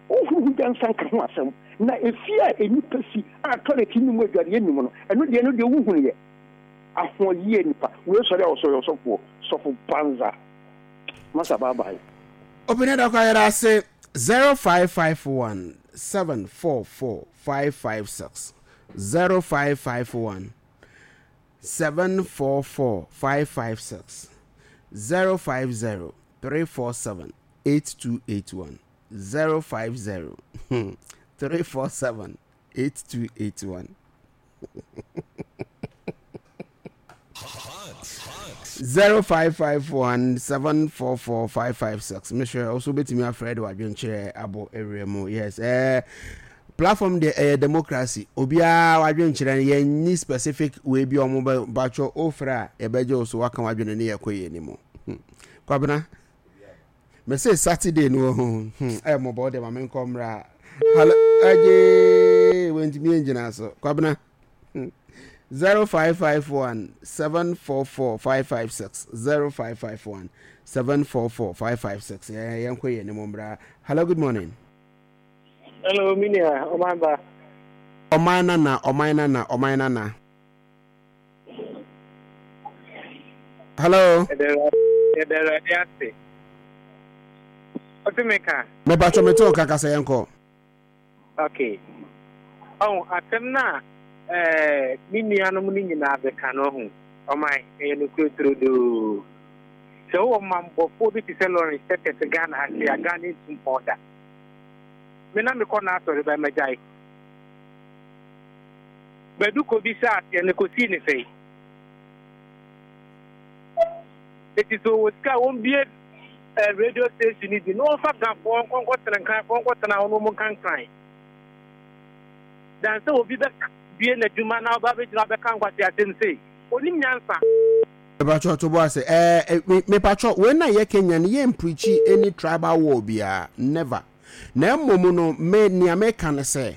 Wohunu ho nyansa nka ho asɛm. Na efie a nnipa si a toilet nni mu adwareɛ nni mu no, ɛno deɛ ɛno deɛ wohunu yɛ. Ahoɔyie nipa. Wei sɔre a ɔsɔre ɔsɔfoɔ. Sɔfo banza. Masa bye bye. Obìnrin dɔkɔ ayɛrɛ ase zero five five one seven four four five five six zero five five one seven four four five five six zero five zero three four seven eight two eight one zero five zero three four seven eight two eight one. Zero five five one seven four four five five six. Mesrɛ also betumi afrɛ de wadwenkyerɛ abɔ ewura mu. Yes, eh, platform deɛ ɛyɛ democracy. Obiara wadwenkyerɛ no yɛnni specific wei bi a ɔmo bɛ batwɔ ofrɛ a yɛbɛgye wo so waka wadwene ne yɛkɔ yɛn anim. Hmm. Kwabena, mese Saturday no wɔ ho. Hmm. Ɛyɛ mmɔbɔ deɛ ma menkɔ mmra. Hello, agye wentumi ngyina so. Kwabena. Zero five five one seven four four five five six zero five five one seven four four five five six. Yɛn kɔ yɛn anim mbra. Hello, good morning. Hello, mi nua, ɔman ba. Ɔman nana, ɔman nana, ɔman nana. Hello. Yɛda Awurade ase. Ɔte me ka. Mepatwɔ me te wo kasa yɛn kɔ. Okay. Ɔho, asɛm no a eh, me nuanom no nyinaa bɛka no, ɔho, ɔman, ɛyɛ nokorɛ turodoo. Sɛ wowɔ mammɔfoɔ bi te sɛ Lawrence Tetteh Ghana ha sei a, Ghana ntu mpɔn da. Me na mekɔ n'asɔre bɛn magyae. Badu kɔbisaa aseɛ no kɔsii ne sɛe. Eti sɛ ɔwɔ sika a wɔmbue eh, radio station no bi na wɔmfa Gafoɔ nkɔ nkɔtena Nkranfoɔ nkɔtena hɔ na wɔn nka Nkran. Dan sɛ obi bɛbue n'adwuma na ɔba abɛgyina abɛka nkwaseasɛm sei. Ɔnim nyansa. Mepatwɔ to bo ase ɛɛ mepatwɔ wei na yɛ Kenya no yɛ mpreachi any tribal war biara never na mmom no me nea meka ne sɛ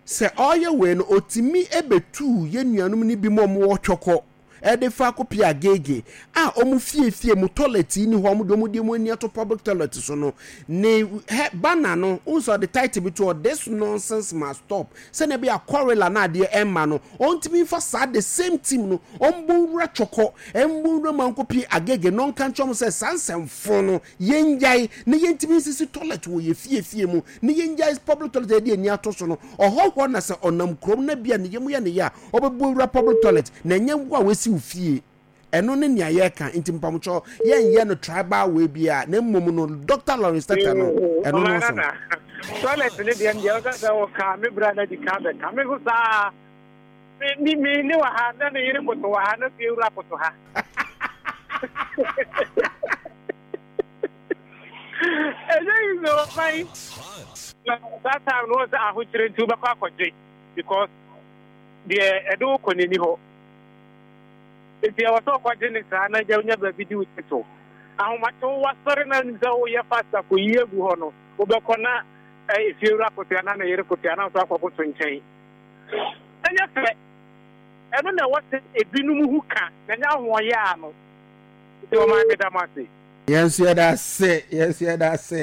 sɛ ɔyɛ wei no otimi ebetu yɛ nuanom no bi mu ɔmo wɔ twɔkɔ ɛde fa akɔpie Agege a ɔmo fie fie mu toilet ni hɔ ɔmo de ɔmo de ɔmo ani ato public toilet so no ne hɛ banner no n sɛ ɔde title bi to hɔ this nonsense must stop sɛnea ɛbɛyɛ a cholera na adeɛ ɛmma no ɔntumi nfa saa the same team no ɔmbɔ nwura Twɔkɔ ɛmbɔ nwura mu ankɔpie Agege na ɔnka nkyerɛ ɔmo sɛ saa nsɛmfo no yɛngyae na yɛntumi nsisi toilet wɔ yɛ fie fie mu na yɛngyae public toilet a yɛde ani ato so no ɔhɔhoɔ na sɛ ɔnam kurom na bi a ne yam yɛ ne yɛ a ɔbɛbɔ wura public toilet na ɛnyɛ wo a wasi wo fie ɛno ne nea yɛka nti mpamokyɛw yɛnyɛ no tribal way biara na mmom no Doctor Lawrence Tata no ɛno no so toilet ne deɛ deɛ ɔsɛ sɛ wɔka me bra no adi ka bɛka me so saa me me ne wɔ ha na ne yere koto wɔ ha na fie wura koto ha ɛnyɛ yi sɛ ɔman na that time no wɔ sɛ ahokyerɛ nti wobɛkɔ akɔgye because deɛ ɛde wo kɔ n'ani hɔ nti ɛwɔ sɛ ɔkɔgye ne saa na gya wonya baabi di wo ti so ahomakye wo wasɔre na nim sɛ woyɛ fast akɔyi agu hɔ no wobɛkɔ na efie wura koto anaa ne yere koto anaa nso akɔkoto nkyɛn ɛnyɛ fɛ ɛno na ɛwɔ sɛ ebinom ho ka na ɛnyɛ ahoɔyɛ ano nti ɔman meda mo ase. Yɛn nso yɛda ase yɛn nso yɛda ase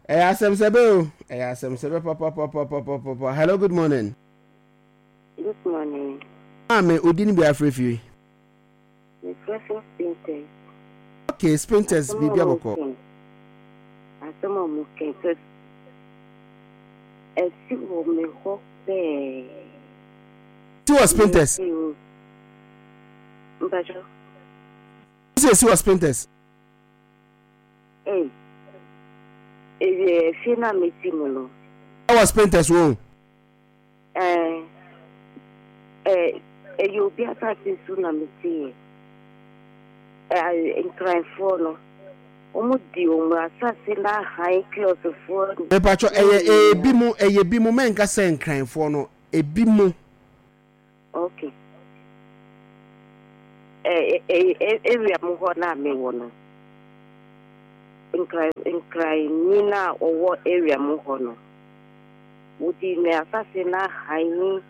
ɛyɛ asɛm sɛbɛ o ɛyɛ asɛm sɛbɛ papapapapapa. Hello, good morning. Good morning. Maame odi ni bi afrɛ fie. Mefrɛ firi Spintex. Okay, Spintex biribi abɔkɔ. Asɛm a mo kɛn sɛ ɛsi wɔ me hɔ pɛɛ. Si wɔ Spintex. Mpatsɔ. Si esi wɔ Spintex. Ee, ewie efie na mi ti mu no. Ɛwɔ Spintex wo. Ɛɛ ɛɛ ɛyɛ obi asase so na mi ti yɛ. Ɛɛ nkranfoɔ no Wɔn di wɔn asase no ahan kioskfoɔ. Mepatwɔ ɛyɛ ebi mo ɛyɛ bi mo mɛnka sɛ nkranfoɔ no ebi mo. Okay. Ɛ ɛ ɛ area mu hɔ na mewɔ no. Nkran nkranni no a ɔwɔ area mu hɔ no, wodi ne asase no ahan ne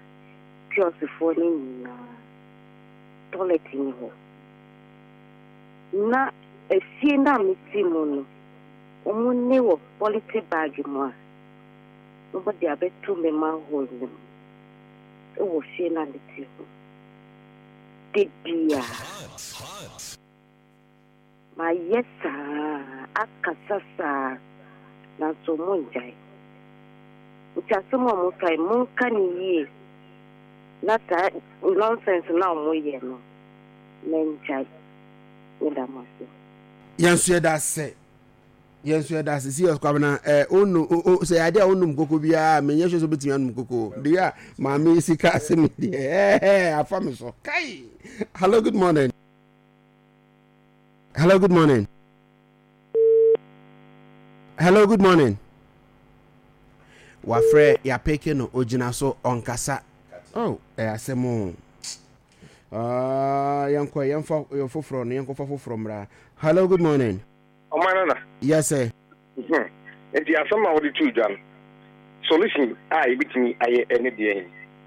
kioskfoɔ no nyinaa. Toilet ni hɔ. Na efie no a mete mu no, wɔn ne wɔ polythene bag mu a, wɔde abɛto me manhole no mu ɛwɔ fie no a mete ho. De bia mayɛ saa akasa saa nanso mo ngyae. Nti asɛm a wɔka yi, monka ne yie na saa nonsense na wɔyɛ no mɛngyae. Meda mo ase. Yɛn nso yɛda ase, yɛn nso yɛda ase. Si Kwabena ɛ onu o sɛ yɛ adeɛ a onum koko biara, menyɛ sure sɛ obetumi anum koko deɛ a maame yi sika ase mi deɛ ɛɛ afa mi so kai. Hello, good morning. Hello, good morning. Hello, good morning. Wafrɛ yapeke no, ogyina so ɔnkasa. Oh, ɛyɛ asɛm o. Uh, yɛnkɔ yɛmfa yɛ foforɔ no, yɛnkɔfa foforɔ mmra. Hello, good morning. Ɔman nana. Yes sir. Hmm. Nti asɛm a wode too dwa no, solution a yɛbɛtumi ayɛ ɛne deɛ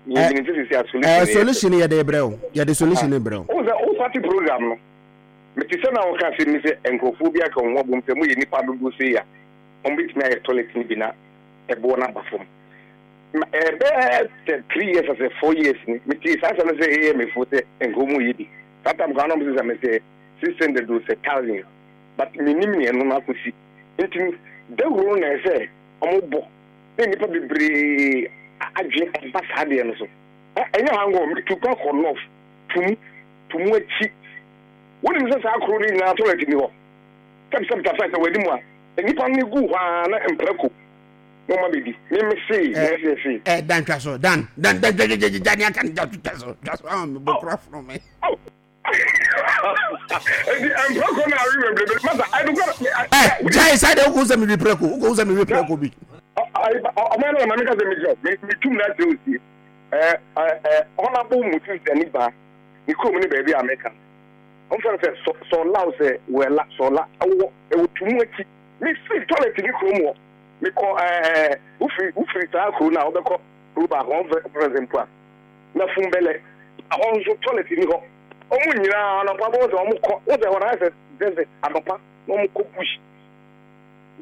yɛnyini nti sisi a solution eh, solution yɛde brɛ wo, yɛde solution ne brɛ wo. Wo sɛ wo party program no, mete sɛ na woka asɛm ni sɛ nkurɔfoɔ bi aka wɔn ho abom sɛ moyɛ nnipa dodoɔ sei a, wɔbɛtumi ayɛ toilet no bi na ɛboɔ no aba fam. Ɛbɛyɛ sɛ three years asɛ four years ni metee saa asɛm no sɛ ɛyɛ mefo sɛ nka wɔn yɛ bi. Saa tam koraa na wɔn sɛ sɛ mesɛ six hundred o sɛ thousand, but menim nea ɛno no akɔsi. Nti dawuro no na ɛsɛ wɔn bɔ na nnipa bebree adwene ɛba saa deɛ no so. Ɛnyɛ ha nko, metu kwan kɔ north tumu tumu akyi. Wonim sɛ saa kuro no nyinaa toilet ni hɔ. Sɛbsɛb tasa sɛ w'anim a nnipa no gu hɔ ara na mprako na ɔma bɛdi. Me me see na ɛsɛ see. Ɛ dan twa so, dan dan dan gya gya gya ne aka no gya twa so, twa so ama me bɔ kora fono me. Eti mprako na awe bebrebe masa ɛdukɔ. Ɛ gyae saa deɛ, wokɔ sɛ mewi prako, wokɔ sɛ mewi prako bi. Ɔman no na maame ka sɛ mekyerɛ me metum na akyerɛ osie. Ɛ ɛ Honorable Moses Daniba ne kurom ne baabi a meka. Wɔn fɛn sɛ sɔla o sɛ wɛla sɔla ɛwɔ ɛwɔ tumu akyi. Me firi toilet ne kurom hɔ. Mekɔ ɛɛ wofiri wofiri saa kuro no a wobɛkɔ kuro baako wɔn fɛ fɛn sɛ mpo a na fumbɛlɛ ɛhɔ nso toilet ni hɔ. Wɔn nyinaa anɔpa bɔ sɛ wɔn kɔ wɔn sɛ hɔ na ayɛ sɛ desert anɔpa na wɔn kɔ bush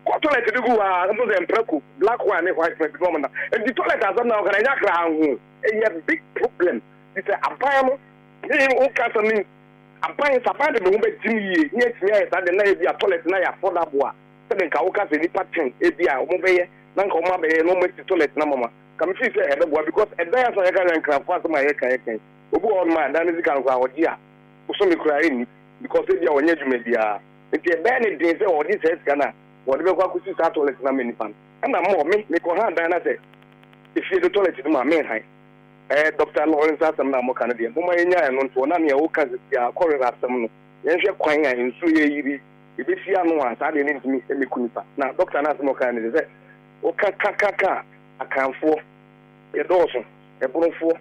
kɔ toilet de gu hɔ a nso sɛ mprako black one ne white one bi na wɔn na nti toilet asɛm na wɔka na ɛnyɛ akra ho, ɛyɛ big problem. Ti sɛ aban no ne woka asɛm no, aban sɛ aban de ne ho bɛgyim yie ne atumi ayɛ saa de na ebi a toilet na yɛ affordable a, sɛde nka woka sɛ nipa ten ebi a wɔn bɛyɛ na nka wɔn abɛyɛ na wɔn asi toilet na mama ka me fi sɛ ɛbɛboa, because ɛdan asɛm a yɛka sɛ nkranfo asɛm a yɛka yɛka yi, obi wɔ hɔnom a ɛdan no sika no koraa ɔgye a bosome koraa ɛnni, because ebi a wɔnyɛ adwuma biara, nti ɛbɛyɛ ne den sɛ ɔde saa sika no a wɔde bɛkɔ akɔsi saa toilet no ama nipa no. Ɛna mmɔ me mekɔ ha dan na sɛ efie de toilet no mu a menhan. Ɛɛ Doctor Lawrence, asɛm no a moka no deɛ, momma yɛnya ɛno ntoɔ na nea woka sisi a kɔrera asɛm no, yɛnhwɛ kwan a nsuo yɛ yiri yɛbɛsi ano a saa deɛ no ntumi mmɛku nipa. Na doctor no asɛm a ɔka no sɛ woka ka ka ka a, Akanfoɔ yɛdɔɔso, Ɛbonofoɔ,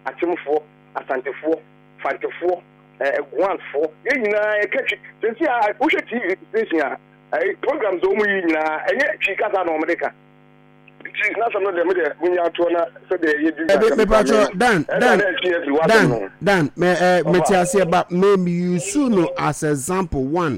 Akyemfoɔ, Asantefoɔ, Fantefoɔ, ɛɛ Guanfoɔ, yɛn nyinaa yɛka Twi. Sɛsi a wohwɛ T V station a ɛɛ programs a wɔn yi nyinaa ɛnyɛ Twi kasa na wɔn de ka. Nti n'asɛm no deɛ, me deɛ munya atoɔ na sɛdeɛ yɛdi Ɛbi mepatwɔ Dan Dan Dan Dan mɛ ɛ mɛte aseɛ ba mɛ mi use no as example one.